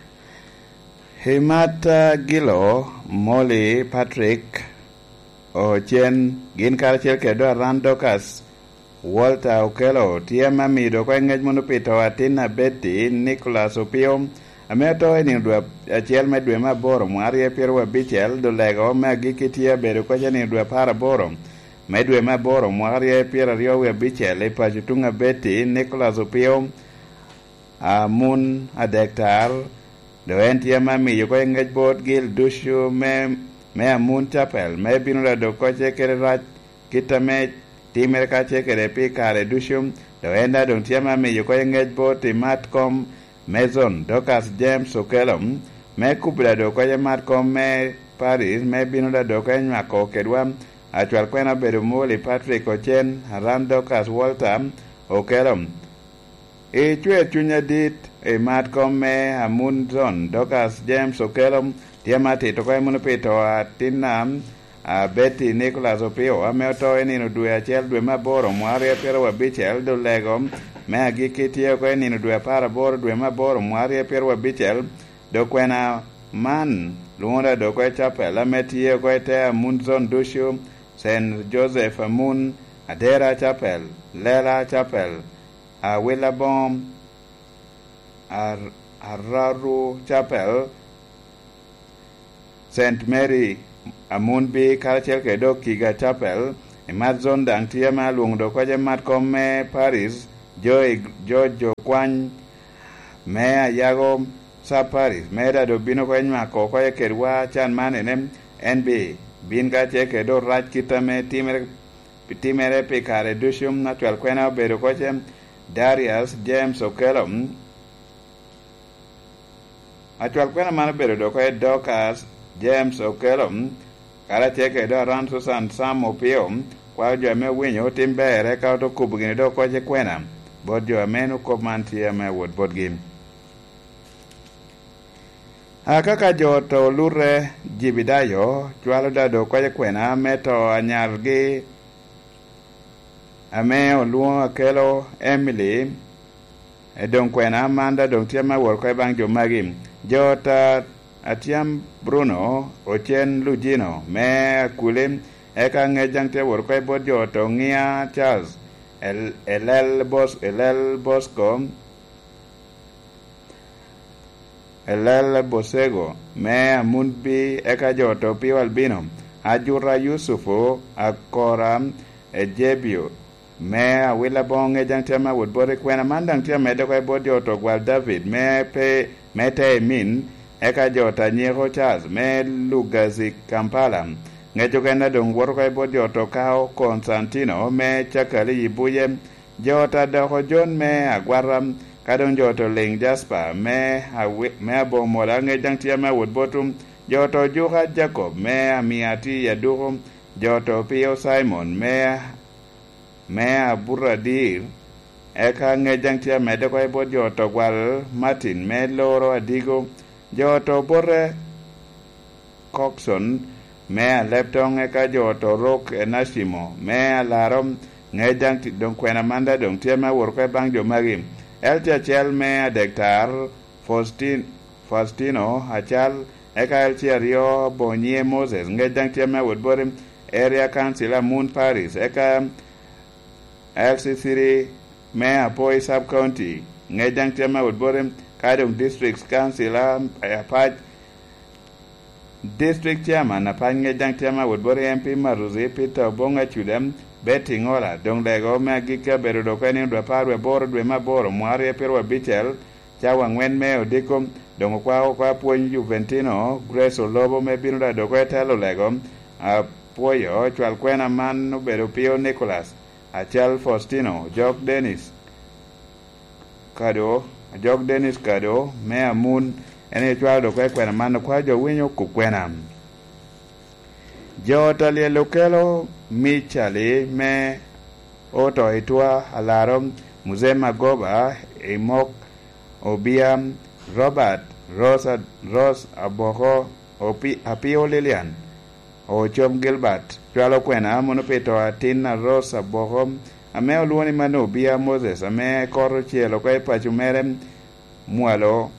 Himata Gilo, Molly Patrick, Ocen, gin karacel kede Doran Dorcas, Walter Okello, tye ame amido oko i ngec munu pi to atin a Betty, Nicholas Opio, ame oto i nino dwe acel me dwe me aboro mwaka aryo pyeraryo abicel, dulego me agikki tye abedo koca i nino dwe apar aboro me dwe me aboro mwaka aryo pyeraryo wie abicel i paco tuŋ a Betty, Nicholas Opio, Amun adektar, dok en tye ame amiyo oko i ngec bot gil ducu me, me Amun Capel, me bino ladok kocce kede rac kit ame timere kacce kede pi kare ducu, dok en daŋ doŋ tye ame amiyo oko i ngec bot i mat kom me Zon Dorcas James Okello, me kubo ladok kocce mat kom me Paris, me bino ladok kocce nywako kedwa. Acwal kwena obedo Molly Patrick Ocen, Aran Dorcas Walter Okello. I cwer cuny adit, i mat kom me Amunzon, Dorcas James Okello, tye ame atito oko i munu pi to a tinna, a Betty Nicholas Opio, ame oto i nino dwe acel dwe me aboro mwaka aryo pyeraryo abicel, dulego me agikki tye oko i nino dwe apar aboro dwe me aboro mwaka aryo pyeraryo abicel, dok kwena man lwoŋo da dok oko i capel ame tye oko i te amun zon ducu, Saint Joseph amun, Adera Capel, Lela Capel, Awila Boŋo, Ar-, Araru Capel, Saint Mary Amunbi karacel kede dok Kiga Chapel, i Mat Zone daŋ tye ame alwoŋo dok oko i Mat Kom me Paris, jo i, jo, jo kwany me Ayago Sub Paris, me da dok bino oko i nywako oko i kedwa can man ene, N B, bin karacel kede dok rac kit ame timere, timere pi kare ducu, acwal kwena obedo oko ce, Darius James Okello, Acwal kwena man obedo dok oko i Dorcas James Okello, karacel kede dok Aran Susan Sam Opio, kwao jo ame owinyo otim ber, eka ote kubo gini dok oko i kwena bot jo ame en okop man tye ame awot botgi. Aka ka jo oto olute, Jibidayo cwalo da dok oko i kwena me to anyargi, ame olwoŋo Akelo Emily, i doŋ kwena man da doŋ tye ame awot oko i baŋ jo magi. Jo ta Atyam Bruno, Ocen Lujino me Akuli, eka ŋec daŋ tye awot oko i bot jo oto Ŋia Charles, El-, Elel Bos-, Elel Bosco, Elel Bosego me Amunbi, eka jo oto Pio Albino, Ajura Yusufu, Akora Ejebio, me Awila Boŋo, ŋec daŋ tye ame awot bot i kwena man daŋ tye amedde oko i bot jo oto Gwal David me pe, me Teimin, eka jo oto Anyeko Charles me Lugazi Kampala. Ŋec okene doŋ woto oko i bot jo oto Kao Konstantino me Cakali i Buye, jo oto Adoko Jon me Agwata, ka doŋ jo oto Liŋ Jasper me Awi-, me Abomola, ŋec daŋ tye ame awot botwu, jo oto Juka Jacob me Amiati i Aduko, jo oto Pio Simon me me Aburadir, eka ŋec daŋ tye amedde oko i bot jo oto Gwal Martin me Loro Adigo, jo oto Bote Coxon me Aleptoŋ, eka jo oto Rok Enacimo me Alaro, ŋec daŋ ti-, doŋ kwena man da doŋ tye ame awot oko i baŋ jo magi. Elti acel me Adektar, Faustin-, Faustino Acal, eka L C aryo Bonyie Moses, ŋec daŋ tye ame awot boti, Area Council Amun Paris, eka L C three me Apoi Sub County, ŋec daŋ tye ame awot boti, ka doŋ District Council a, Apac, District Chairman Apac, ŋec daŋ tye ame awot boti, M P Maruzi Peter Obong Acuda, Betty Ŋola, doŋ lego me agikki abedo dok en i dwe apar wie aboro dwe me aboro mwaka aryo pyeraryo abicel, cawa aŋwen me odiko, doŋ okwao oko apwony Juventino, Grace Olobo me bino da dok oko i telo lego, apwoyo cwal kwena man obedo Pio Nicholas, Acal Faustino, Jok Dennis, Kado, Jok Dennis Kado, me Amun, en aye cwalo dok oko i kwena man, okwao jo winyo kop kwena. Jo ta lyel okelo Michali me oto i Twa Alaro, Mzee Magoba, Imok Obia, Robert, Rose, Rose Aboko, Opi-, Apio Lilian, Ocom Gilbert, cwalo kwena mono pi to atin a Rose Aboko, ame olwoŋo ni Mano Obia Moses, ame kot ocel oko i paco mere, mwalo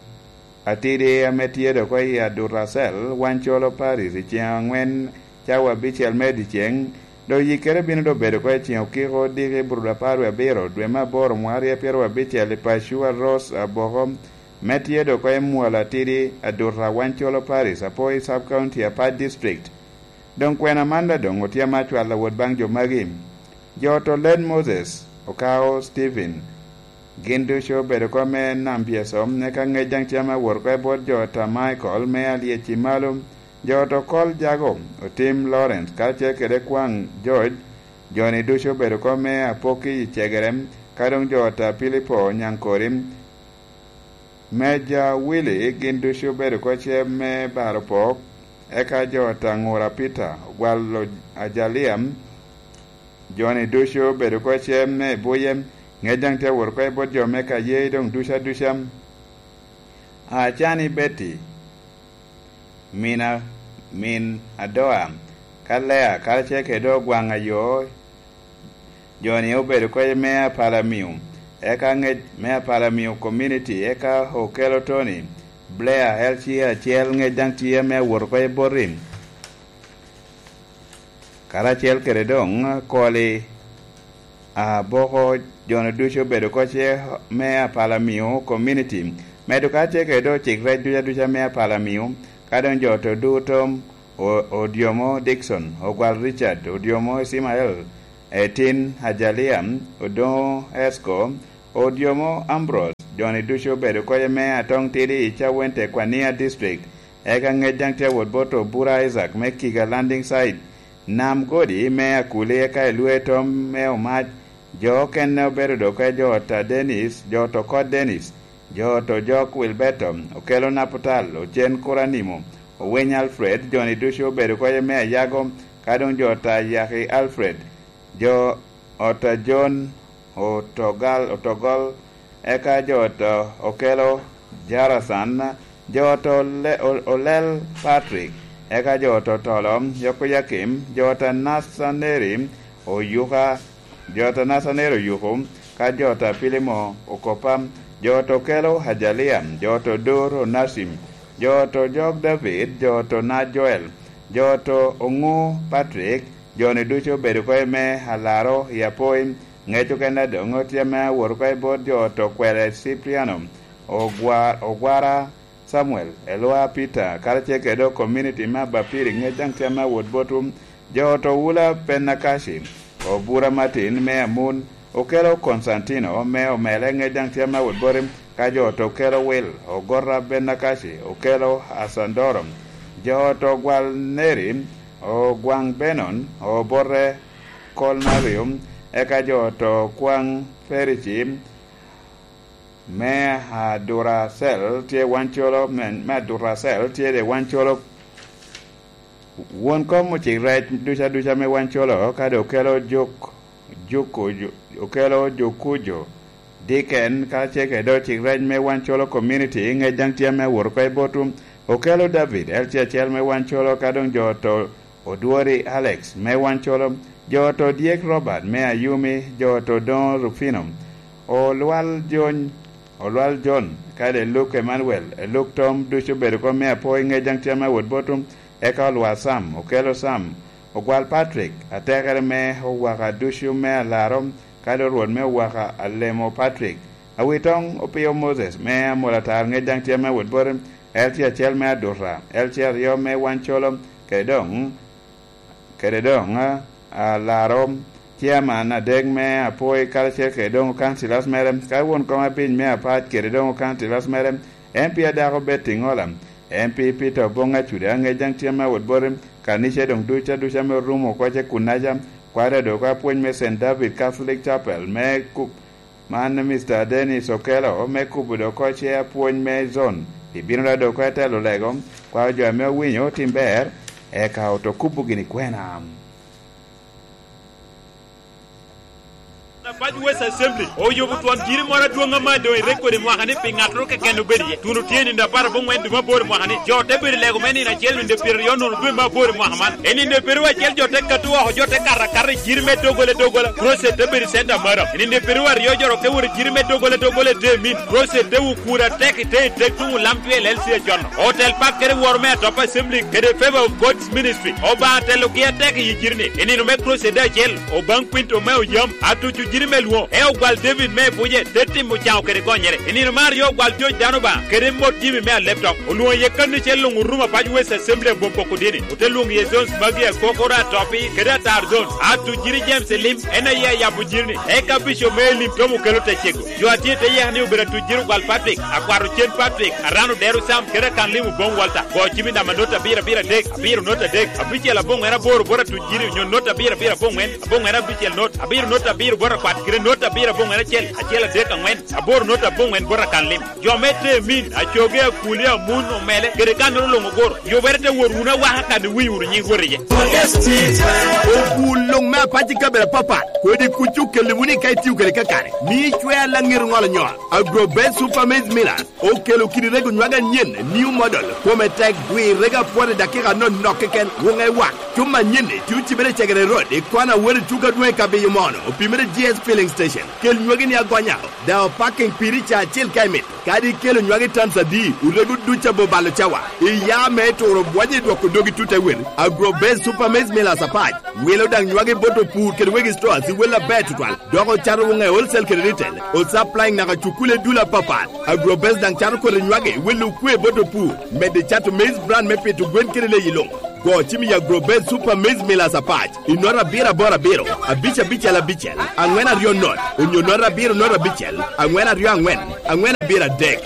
atidi ame tye dok oye Aduracel, Wancolo Paris, i ceŋ aŋwen cawa abicel me dyeceŋ, dok yikkere bino dok bedo oko i ceŋ okiko odiko i Burudapar wie abiro, dwe me aboro, mwaka aryo pyeraryo abicel, i Pacua Rose Aboko, me tye dok oko i mwalo atidi Aduta Wancolo Paris, Apoi Sub County, Apac District. Doŋ kwena man da doŋ otye ame acwalo wot baŋ jo magi. Jo oto Led Moses, Okao Stephen, gin ducu obedo oko me Nam Pyeso, eka ŋec daŋ tye ame awot oko i bot jo ta Michael me Alyec i Malo, jo oto Kol Jago, Otim Lawrence, karacel kede kwaŋ George, jo-ni ducu obedo oko me Apoki i Cegere, ka doŋ jo ta Pilipo Nyaŋkori, Meja Willy, gin ducu obedo oko cem me baro pok, eka jo ta Ŋura Peter, Ogwalo Ajalia, jo-ni ducu obedo oko cem me buye, ŋec daŋ tye awot oko i bot jo me Kayee doŋ ducu aduca. Acani Betty, mina, min Adoa, ka Lea, karacel kede dok gwaŋ ayo, jo-ni obedo oko me Apalamio, eka ŋec me Apalamio Community, eka Okelo Tony, Blair L C acel ŋec daŋ tye ame awot oko i boti, karacel kede doŋ Koli Aboko, jo-nu ducu obedo oko ce me Apalamio Community. Medo ka tye kede doŋ cik rec duca duca me Apalamio, ka doŋ jo to duto, O-, Odiomo Dickson, Ogwal Richard, Odiomo Ismael, Etin Ajalia, Odoŋo Esco, Odiomo Ambrose, jo-ni ducu obedo oko ce me Atoŋ Tidi i Cawente, Kwania District, eka ŋec daŋ tye awot bot Obura Isaac me Kiga Landing Site, Nam Godi me Akuli, eka i Lwe Tom me Omac, jo okene obedo doŋ oko jo ot a Dennis, jo ot Okot Dennis, jo ot Ojok Wilberto, Okelo Naputal, Ocen Kuranimo, Owiny Alfred, jo-ni ducu obedo oko ce me Ayago, ka doŋ jo ot a Yaki Alfred, jo ot a John Otogal, Otogol, eka jo ot Okelo Jarasan, jo ot Ole-, O-, Olel Patrick, eka jo ot Otolo Yokoyakim, jo ot a Nacaneri Oyuka, jo ot a Nacaneri Oyuku, ka jo ot a Pilimo Okopa, jo ot Okelo Ajalia, jo ot Odur Onacim, jo ot Ojok David, jo ot Onac Joel, jo ot Oŋu Patrick, jo-ni ducu obedo oko i me Alaro i Apoi, ŋec okene doŋ tye ame awot oko i bot jo ot Okwele Cipriano, Ogwa-, Ogwara Samuel, Elwa Peter, karacel kede doŋ community me Abapiri, ŋec daŋ tye ame awot botwu, jo ot Owula Penakaci, Obura Martin me Amun, Okelo Constantino me Omele, ŋec daŋ tye ame awot boti, ka jo ot Okelo Wil, Ogota Benakaci, Okelo Asandoro, jo ot Ogwal Neri, Ogwaŋ Benon, Obote Kolnario, eka jo ot Okwaŋ Perici, me Aduracel tye Wancolo, me, me Aduracel tye de Wancolo. Won kom ocik rec duca duca me Wancolo, ka doŋ okelo juk, juk oju-, okelo jukujo, diken, ka ce kede ocik rec me Wancolo community, ŋec daŋ tye ame awot oko i botwu. Okelo David, L C acel me Wancolo, ka doŋ jo ot Odwori Alex me Wancolo, jo ot Odyek Robert me Ayumi, jo ot Odoŋo Rufino, Olwal Jony, Olwal John, kede Luke Emmanuel, Luke Tom, ducu obedo oko me Apoi, ŋec daŋ tye ame awot botwu, eka Olwal Sam, Okelo Sam, Ogwal Patrick, atekere me Owaka ducu me Alaro, kede Rwot me Owaka Alemo Patrick, Awitoŋ Opio Moses me Amolatar, ŋec daŋ tye ame awot boti, L C acel me Aduta, L C aryo me Wancolo, kede doŋ, kede doŋ, a, Alaro, chairman adek me Apoi, karacel kede doŋ councillors mere, ka won kom abic me Apac kede doŋ councillors mere, M P adako Betty Ŋola, M P Peter Oboŋ Acuda, ŋec daŋ tye ame awot boti, kanica doŋ duc aduca ame orumo oko ce kunnaca, kwade doŋ oko apwony me Saint David Catholic Chapel me Ku-, Man Mister Dennis Okello me kubo doŋ oko ce apwony me zone, ibino da doŋ oko etelo lego, kwao jo ame owinyo otim ber, eka oto kubo gini kwena. Apac West Assembly oyubo twon jiri moro adwoŋ ama doŋ irek kodi mwaka ni pi ŋattoro keken obed iye. Tuno tye i nino apar aboŋwen dwe me aboro mwaka ni. Jo te bedo i lego me nino acel nino pyeraryo nono dwe me aboro mwaka man. I nino pyeraryo acel jo te kato oko, jo te kato akata i jiri me doggola doggola. Crusade te bedo i center moro. I nino pyeraryo aryo jo roke wot i jiri me doggola doggola i te min. Crusade te wukura tek i te i tek tuŋ olam cwel L C A con. Otel pak kede woro me atop Assembly kede Favor of God's Ministry. Obaŋa telogi atek i jiri ni. I nino me Crusade acel, Obaŋ Quinto me Oyam, atuco jiri me lwoŋo. E ogwal David me Ebuje, te timo caŋo kede gonyere. I nino me aryo ogwal George Dano Obaŋa, kede mot Jimmy me Aleptok. Olwoŋo iye kanicel luŋ orumo apac West Assembly abom poko dini. Ote lwoŋo iye zones magi akokoro atopi, kede atar zone. Atuc jiri James Elim, en aye ayabo jiri ni. Eka Bishop me Elim Tom Okello te cego. Jo a tye i te yeka ni obedo atuc jiri ogwal Patrick, akwat Ocen Patrick, Arano Dero Sam, kede akan lim Oboŋ Walter. Go cim i namba not abiro abiro adek, abiro not adek, abicel aboŋwen aboro bot atuc jiri, onyo not abiro abiro aboŋwen, aboŋwen abicel not, abiro not abiro bot akwat, kede not abiro aboŋwen acel, acel adek aŋwen, aboro not aboŋwen bot akan lim. Jo me Temin, Acoge, Akuli, Amun, Omele, kede kannoro luŋ ogoro. Yubere te wot wunu awaka kan iwiny wunu nyiŋ Rwot iye. Obul luŋ me apac i kabedo apapat, kodi kuc okelli wunu i ka itio kede kakare. Mi icwe alaŋir ŋolo nyol. Agro Best Super Maize Millers okelo kidi rego nywag anyen, new model, kome tek, gwir rego apwot i dakika anonok keken, wuŋe wak. Cuma anyen-ni tye ocibere i Cegere Road, i kwana Awero i Tuka Dwoŋ i Kabiyo Mono, opimere G S Filling station. Kel nywagi ni agonya. Daŋ opaking piri ca acil ka imito. Kadi ikelo nywagi tons adi, orego duc abo balo cawa. Iya me turo bwonyo i dwoko dogi tut awel. Agro Base Super Maize Millers apac. Wilo daŋ nywagi bot opur kede wegi stores i wel aber tutwal. Dok ocato woŋe wholesale kede retail. O supplying naka cukule dul apapat. Agro Base daŋ cato koti nywagi i wel okwe bot opur. Medde cato maize brand me pito gwen kede leyi luŋ. Go cim i Agro Base Super Maize Millers apac. I nota abiro aboro abiro, abic abicel abicel, aŋwen aryo not, onyo nota abiro not abicel, aŋwen aryo aŋwen, aŋwen abiro adek.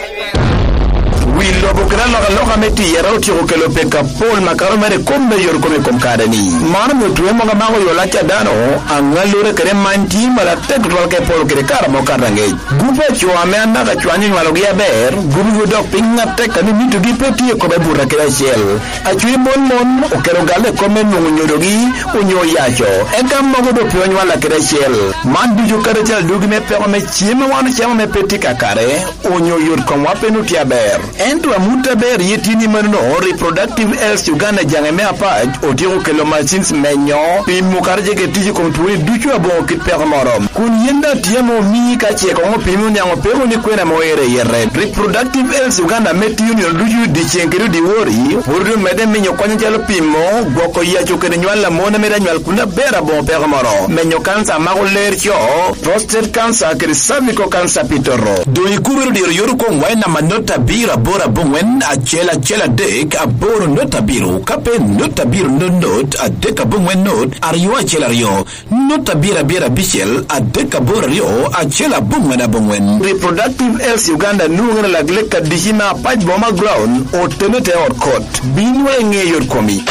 Wi lobo kede alokaloka me tiyere otyeko kelo peko apol makato mere i kom me yot kome i kom kare-ni. Man omio twe mogo amako yo lac a dano, aŋallure kede many tye malo atek tutwal ka epolo kede kare amo kato aŋec. Gupe a co ame anaka cwany onywalogi aber, gupe odok piny atek a ni mitogi pe tye i kome buto kede acel. Acwiny mon mon okelo galle i kom me nwoŋo nyodogi onyo oyaco, eka mogo doŋ pe onywalla kede acel. Man ducu kadi calo adwogi me peko me cem a wan ocamo ame pe tye kakare, onyo yot komwa pe nwoŋo tye aber. Ento amut aber ye tye ni manono, Reproductive Health Uganda jaŋe me apac otyeko kelo machines menyo, pimo kadi ce kede tic i kom twoni ducu aboŋo kit peko moro. Kun yin daŋ tye ame omii ka ce koŋ opimi oniaŋ opeko ni kwena ame oero i yete. Reproductive Health Uganda ame tiyo nino ducu dyeceŋ kede dyewor, pwod omedde miyo kony acalo pimo, gwoko yaco kede nywal a mon ame daŋ nywal kun aber aboŋo peko moro, menyo kanca a mako ler co, prostate cancer kede cervical cancer pi toto. Doŋ ikubere diro yot okoŋwa i namba not abiro aboro aboŋwen acel acel adek aboro not abiro, ka pe not abiro not not adek aboŋwen not aryo acel aryo. Not abiro abiro abicel adek aboro aryo acel aboŋwen aboŋwen. Reproductive Health Uganda nwoŋere lak lek adici me apac boma ground otene te ot kot. Bin wa iŋe yot komi.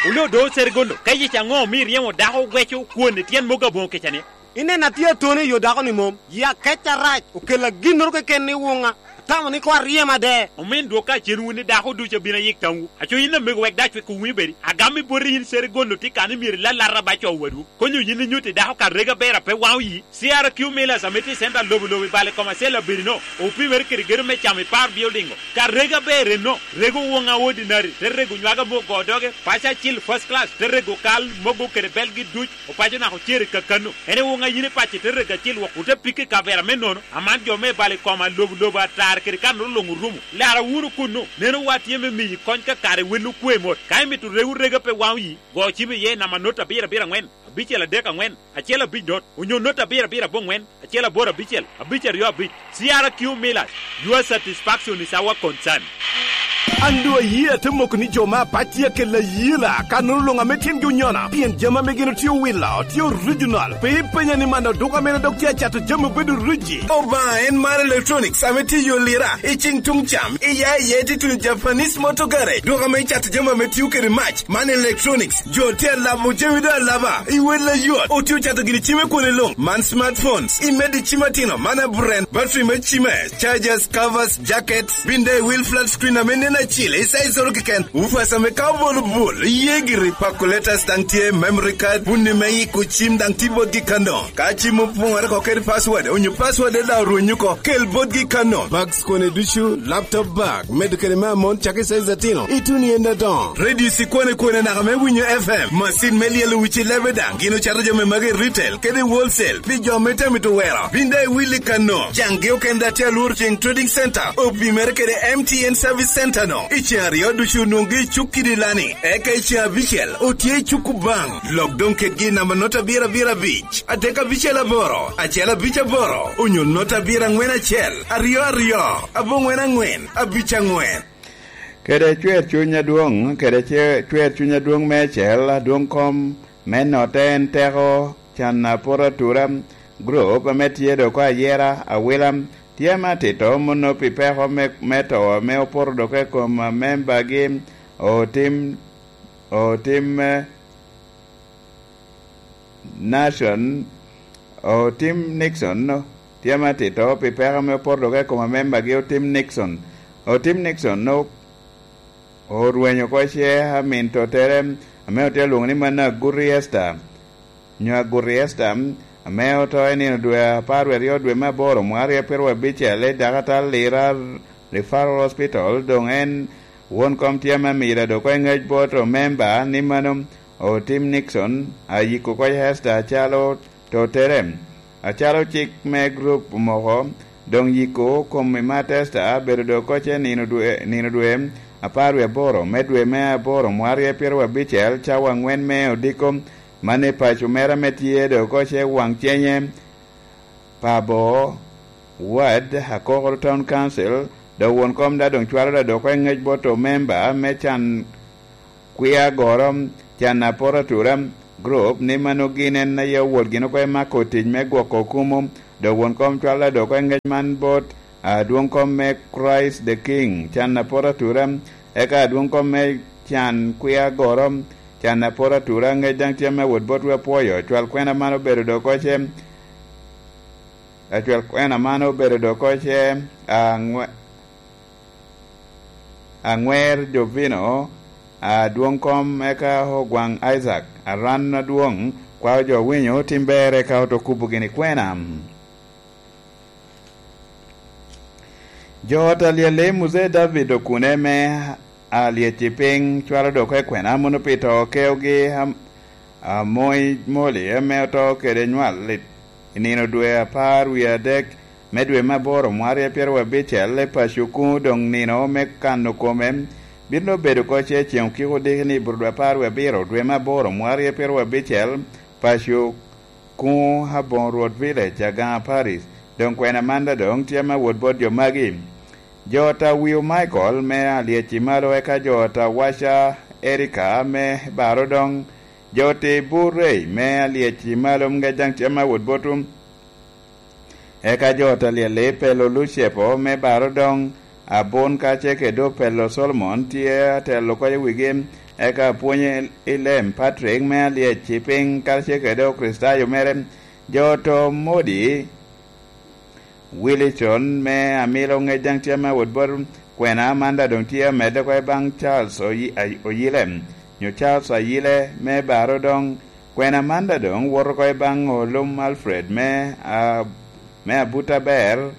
Oloo do Serigondo, ka yec aŋo omi iryemo dako gweco kwon i tyen mogo aboŋo kecani? Ineno atye atoni i yo dako-ni mom, yi akec arac okella ginnoro keken ni wuŋa. Atamo ni koŋ aryem ade. Omin dwok ka cen wun ni dako ducu abino ayik tamwu. Aco yin amego wek dac wek owinyo bedi. Agam i boti yin Serigondo tye kan ni myero ilalata ba co wadwu. Konyo yin inyutti dako ka rega ber a pe waŋo yi. C R Q Millers ame tye i center lobo lobo i bal i kom acel abirino. Opimere kede gedo me camo i par building-o. Ka rega ber enno, rego woŋa ordinary, te rego nywaga mogo doge, paco acil first class, te rego kal mogo kede belgi duc. Opaco naka ocere kakano. En ewoŋ a yin ipaco i te rego acil wok ote pikke i kavera me nono, aman jo me bal i koma lobo lobo atar kede kanoro luŋ orumo. Lara wunu kunnu, neno wa tye me miyi kony ka kare wel okwe mot. Ka imito rego rega pe waŋo yi, go cim iye i namba not abiro abiro aŋwen, abicel adek aŋwen, acel abic not, onyo not abiro abiro aboŋwen, acel aboro abicel, abic aryo abic. C R Q Millers, your satisfaction is our concern. An doŋ aye ate moko ni jo me apac tye akelo ayela, kanoro luŋ ame tyengi onyona, pien jami ame gin otye owilo, tye original. Pe ipenya ni man odoko amene dok tye acato jami obedo origi. Obaŋa en mar electronics ame tye yo lira, i cing tuŋ cam, i ya i ya ite tuno Japanese Motor Garage. Dok ame icato jami ame tio kede mac, man electronics. Jo tye alabo jami doŋ alaba, i wel ayot. Otye ocato gini cime kwone luŋ, man smartphones, i medi cim atino, man abren, battery me cime, chargers, covers, jackets, bin daŋ i wil flat screen ame nen acil, i size oro keken, woofers ame ka obolo bul, iye giri, calculators daŋ tye, memory card, bunni me yiko cim daŋ tye botgi kano. Ka cim opoŋore oko kede password, onyo password daŋ orwenyo oko, kel botgi kano. Bags kone ducu, laptop bag, medo kede me amon cakki size atino, ituno i en adoŋo. Radio cikwane kwane naka me winyo F M, macin me lyelo wici lebe daŋ, gin ocato jami magi i retail kede i wholesale, pi jo me temo mito wero. Bin daŋ iwil i kano, caŋgi okene daŋ tye alworo ceŋ trading center, opimere kede M T N service center no. I ceŋ aryo ducu onwoŋgi i cuk kidi lani, eka i ceŋ abicel otye i cuk Kubaŋ. Lok doŋ kedgi i namba not abiro abiro abic, adek abicel aboro, acel abic aboro, onyo not abiro aŋwen acel, aryo aryo, aboŋwen aŋwen, abic aŋwen. Kede cwer cuny adwoŋ, kede ce-, cwer cuny adwoŋ meicel, adwoŋ kom me notte en teko can apoto atura, gurup ame tye dok ayera, awila, tye ame atito mono pi peko me, me to ame opoto dok i kom membagi, otim, otim, eh, Nation, otim Nixon, tye ame atito pi peko ame opoto dok i kom amembagi otim Nixon. Otim Nixon o-, orwenyo oko ce amin tottere ame otye alwoŋo ni mano Aguti Esther, nyo Aguti Esther, ame oto i nino dwe apar wie aryo dwe me aboro mwaka aryo pyeraryo abicel i dakatal Lira Referral Hospital, doŋ en won kom tye ame amiro dok oko i ŋec bot omemba ni mano Otim Nixon, ayiko oko Ester acalo totere, acalo cik me gurup omoko, doŋ yiko kom i Ester bedo doŋ oko nino dwe, nino dwe apar wie aboro me dwe me aboro mwarye pyeraryo abicel, cawa aŋwen me odiko, man i paco mere ame tye doŋ oko waŋ cenye. Pabo, Ward, Akokoro Town Council, dok won kom da doŋ cwalo da dok i ŋec bot omemba me can kwi agoro, can apor atura, group, ni mano gin en aye owot gin oko i mako tic me gwoko kumo, dok won kom cwalo da dok i ŋec man bot adwoŋ kom me Christ the King, can apor atura, eka adwoŋ kom me can kwi agoro, can apor atura, ŋec daŋ tye me wot bot wepwoyo, cwal kwena man obedo dok oko ce, acwal kwena man obedo dok oko ce, aŋwe-, aŋwer Jovino, adwoŋ kom eka Ogwaŋ Isaac, aran adwoŋ, kwao jo winyo tim ber eka oto kubo gini kwena. Jo ot alyel i Muzee David okune me alyec i piny cwalo dok i kwena mono pi to keogi am-, Amoy Moli ame oto kede nywal i, i nino dwe apar wie adek me dwe me aboro mwarye pyeraryo abicel i paco kuno, doŋ nino me kano kome bino bedo oko ce ceŋ okiko diki ni bur dwe apar wie abiro dwe me aboro mwarye pyeraryo abicel, paco kuno Aboŋo Rwot Village, Agaŋa Parish. Doŋ kwena man da doŋ tye me wot bot jo magi. Jo ot Awiu Michael me alyec i malo, eka jo ot Awaca Erika me Baro doŋ, jo ot Ibur Rey me alyec i malo, ŋec daŋ tye me wot bot, eka jo ot alyel i Pelo Lucepo me Baro doŋ, Abun ka ce kede Opelo Solomon tye atelo oko i wigi, eka apwonye i lem Patrick me alyec i piny karacel kede Okricitayo mere, jo ot Modi Wilson me Amilo, ŋec daŋ tye me wot bot kwena man da doŋ tye amedde oko i baŋ Charles Oyi-, Ay-, Oyile, nyo Charles Ayile me Baro doŋ, kwena man da doŋ woto oko i baŋ Olum Alfred me, a, me Abuta Ber,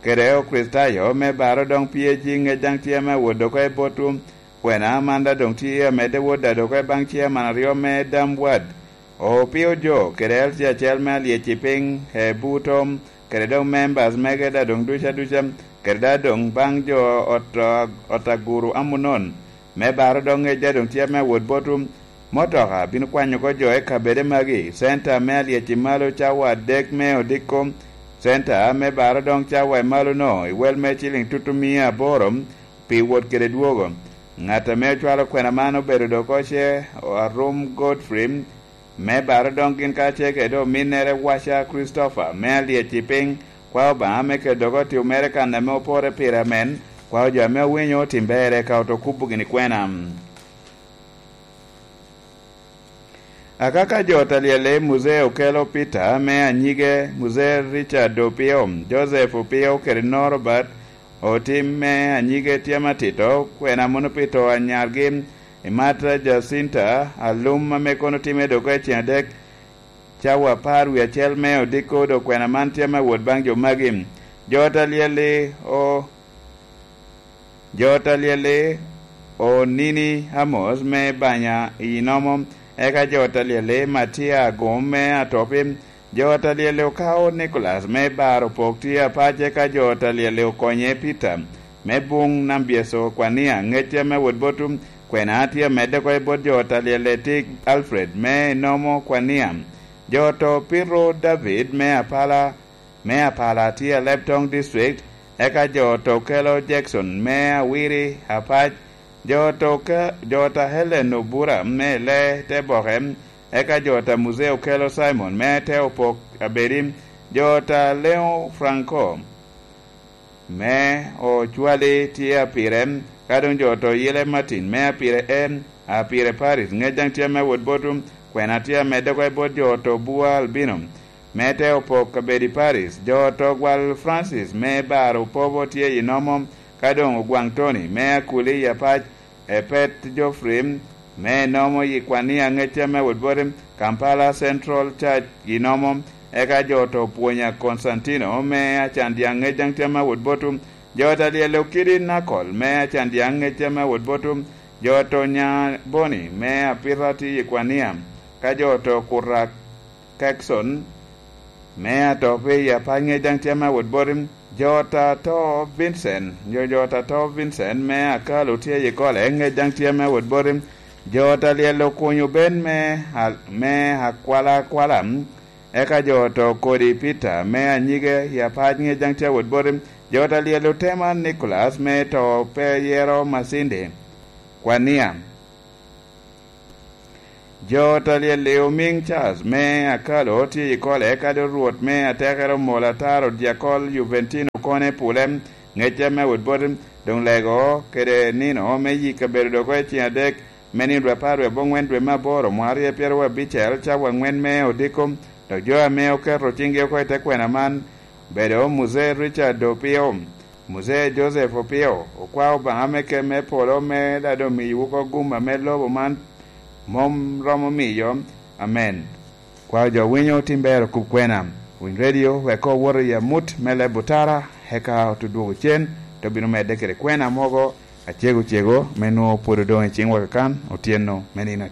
kede Okricitayo me Baro doŋ P A G, ŋec daŋ tye me wot oko i botwu. Kwena man da doŋ tye amedde wot da dok i baŋ ciaman aryo me Dam Ward, Opio Jo, kede L C acel me alyec i piny, e buto, kede doŋ members mege da doŋ duca duca, kede da doŋ baŋ jo ot, ot Aguru Amunon, me Baro doŋ ŋec da doŋ tye me wot botwu. Motoka bino kwanyo oko jo i kabede magi, center me alyec i malo cawa adek me odiko, center me Baro doŋ cawa i malo-no, i wel me ciliŋ tutumia aboro, pi wot kede dwogo. Ŋat ame ocwalo kwena man obedo dok oko ce Arum Godfrey, me Baro doŋ gin kacel kede ominnere Waca Christopher, me alyec i piny, kwao Obaŋa me kelo dok oti omere kan ame opore pire amen, kwao jo ame owinyo otim ber eka oto kubo gini kwena. Akaka jo ot alyel i Muzee Okello Peter me anyige, Muzee Richard Opio, Joseph Opio kede Norbert Otim me anyige tye matito, kwena mono pi to anyargi, i Marta Jacinta Alum ame kono time dok i ceŋ adek, cawa apar wie acel me odiko, dok kwena man tye me wot baŋ jo magi. Jo ot alyel i o Jo ot alyel-li Onini Amos me Banya i Inomo, eka jo ot alyel-li Matia Agum me Atopi, jo ot alyel-li Okao Nicolas me Baro Pok tye apac, eka jo ot alyel-li Okonye Peter me Buŋ Nambyeco Kwania, ŋecce me wot botwu, kwena tye amedde oko i bot jo ot alyel-li Tik Alfred me Inomo Kwania, jo ot Opiro David me Apala, me Apala tye Alebtong District, eka jo ot Okello Jackson me Awiri Apac, jo ot Oke-, jo ot a Helen Obura me Lee Teboke, eka jo ot a Muzee Okello Simon me Te Opok Abedi, jo ot a Leon Franco me Ocwali tye Apire, ka doŋ jo ot Oyile Martin me Apire E, Apire Paris, ŋec daŋ tye me wot botwu, kwena tye amedde oko i bot jo ot Obua Albino, me Te Opok Abedi Paris, jo ot Ogwal Francis me Baro Opobo tye i Inomo, ka doŋ Ogwaŋ Tony me Akuli i Apac, Epet Geoffrey me Inomo i Kwania, ŋecce me wot boti, Kampala Central Church i Inomo, eka jo ot Opwonya Constantino me Acandiaŋ, ŋec daŋ tye me wot botwu, jo ot alyel Okidi Nakol me Acandiaŋ, ŋecce me wot botwu, Jo oto nya Boni me Apita tye i Kwania, ka jo oto Kura Kekson me Atopi i Apac Ŋec daŋ tye ame awot boti. Jo oto Vincent, jo jo oto Vincent me Akalo tye i Kole Ŋec daŋ tye ame awot boti. Jo oto lyel okunyo ben me, me Akwala Akwala, eka jo oto Kodi Peter me Anyige i Apac Ŋec daŋ tye awot boti. Jo oto lyel otema Nicholas me to pe yero Masindi, Kwania. Jo oto lyel i Omiŋ Charles me Akalo tye i Kole, eka doŋ Rwot me atekere omol ataro dyakol Juventino kone pule, Ŋecce me awot boti. Doŋ lego kede nino me yik abedo dogo i ceng adek me nino dwe apar wie aboŋwen dwe me aboro mwaka aryo pyeraryo abicel, cawa aŋwen me odiko. Dok jo ame oketo ciŋgi oko i te kwena man obedo Muzee Richard Opio, Muzee Joseph Opio, okwa Obaŋa me kem me polo me daŋ doŋ miyowu oko gum ame lobo man mom romo miyo. Amen. Kwao jo winyo tim ber okub kwena. Winy redio wek owot i amut me leb otara, eka otudwogo cen, te obino medde kede kwena mogo acego cego me nwoŋo pwod odoŋ i ciŋwa kakan otyeno me nino.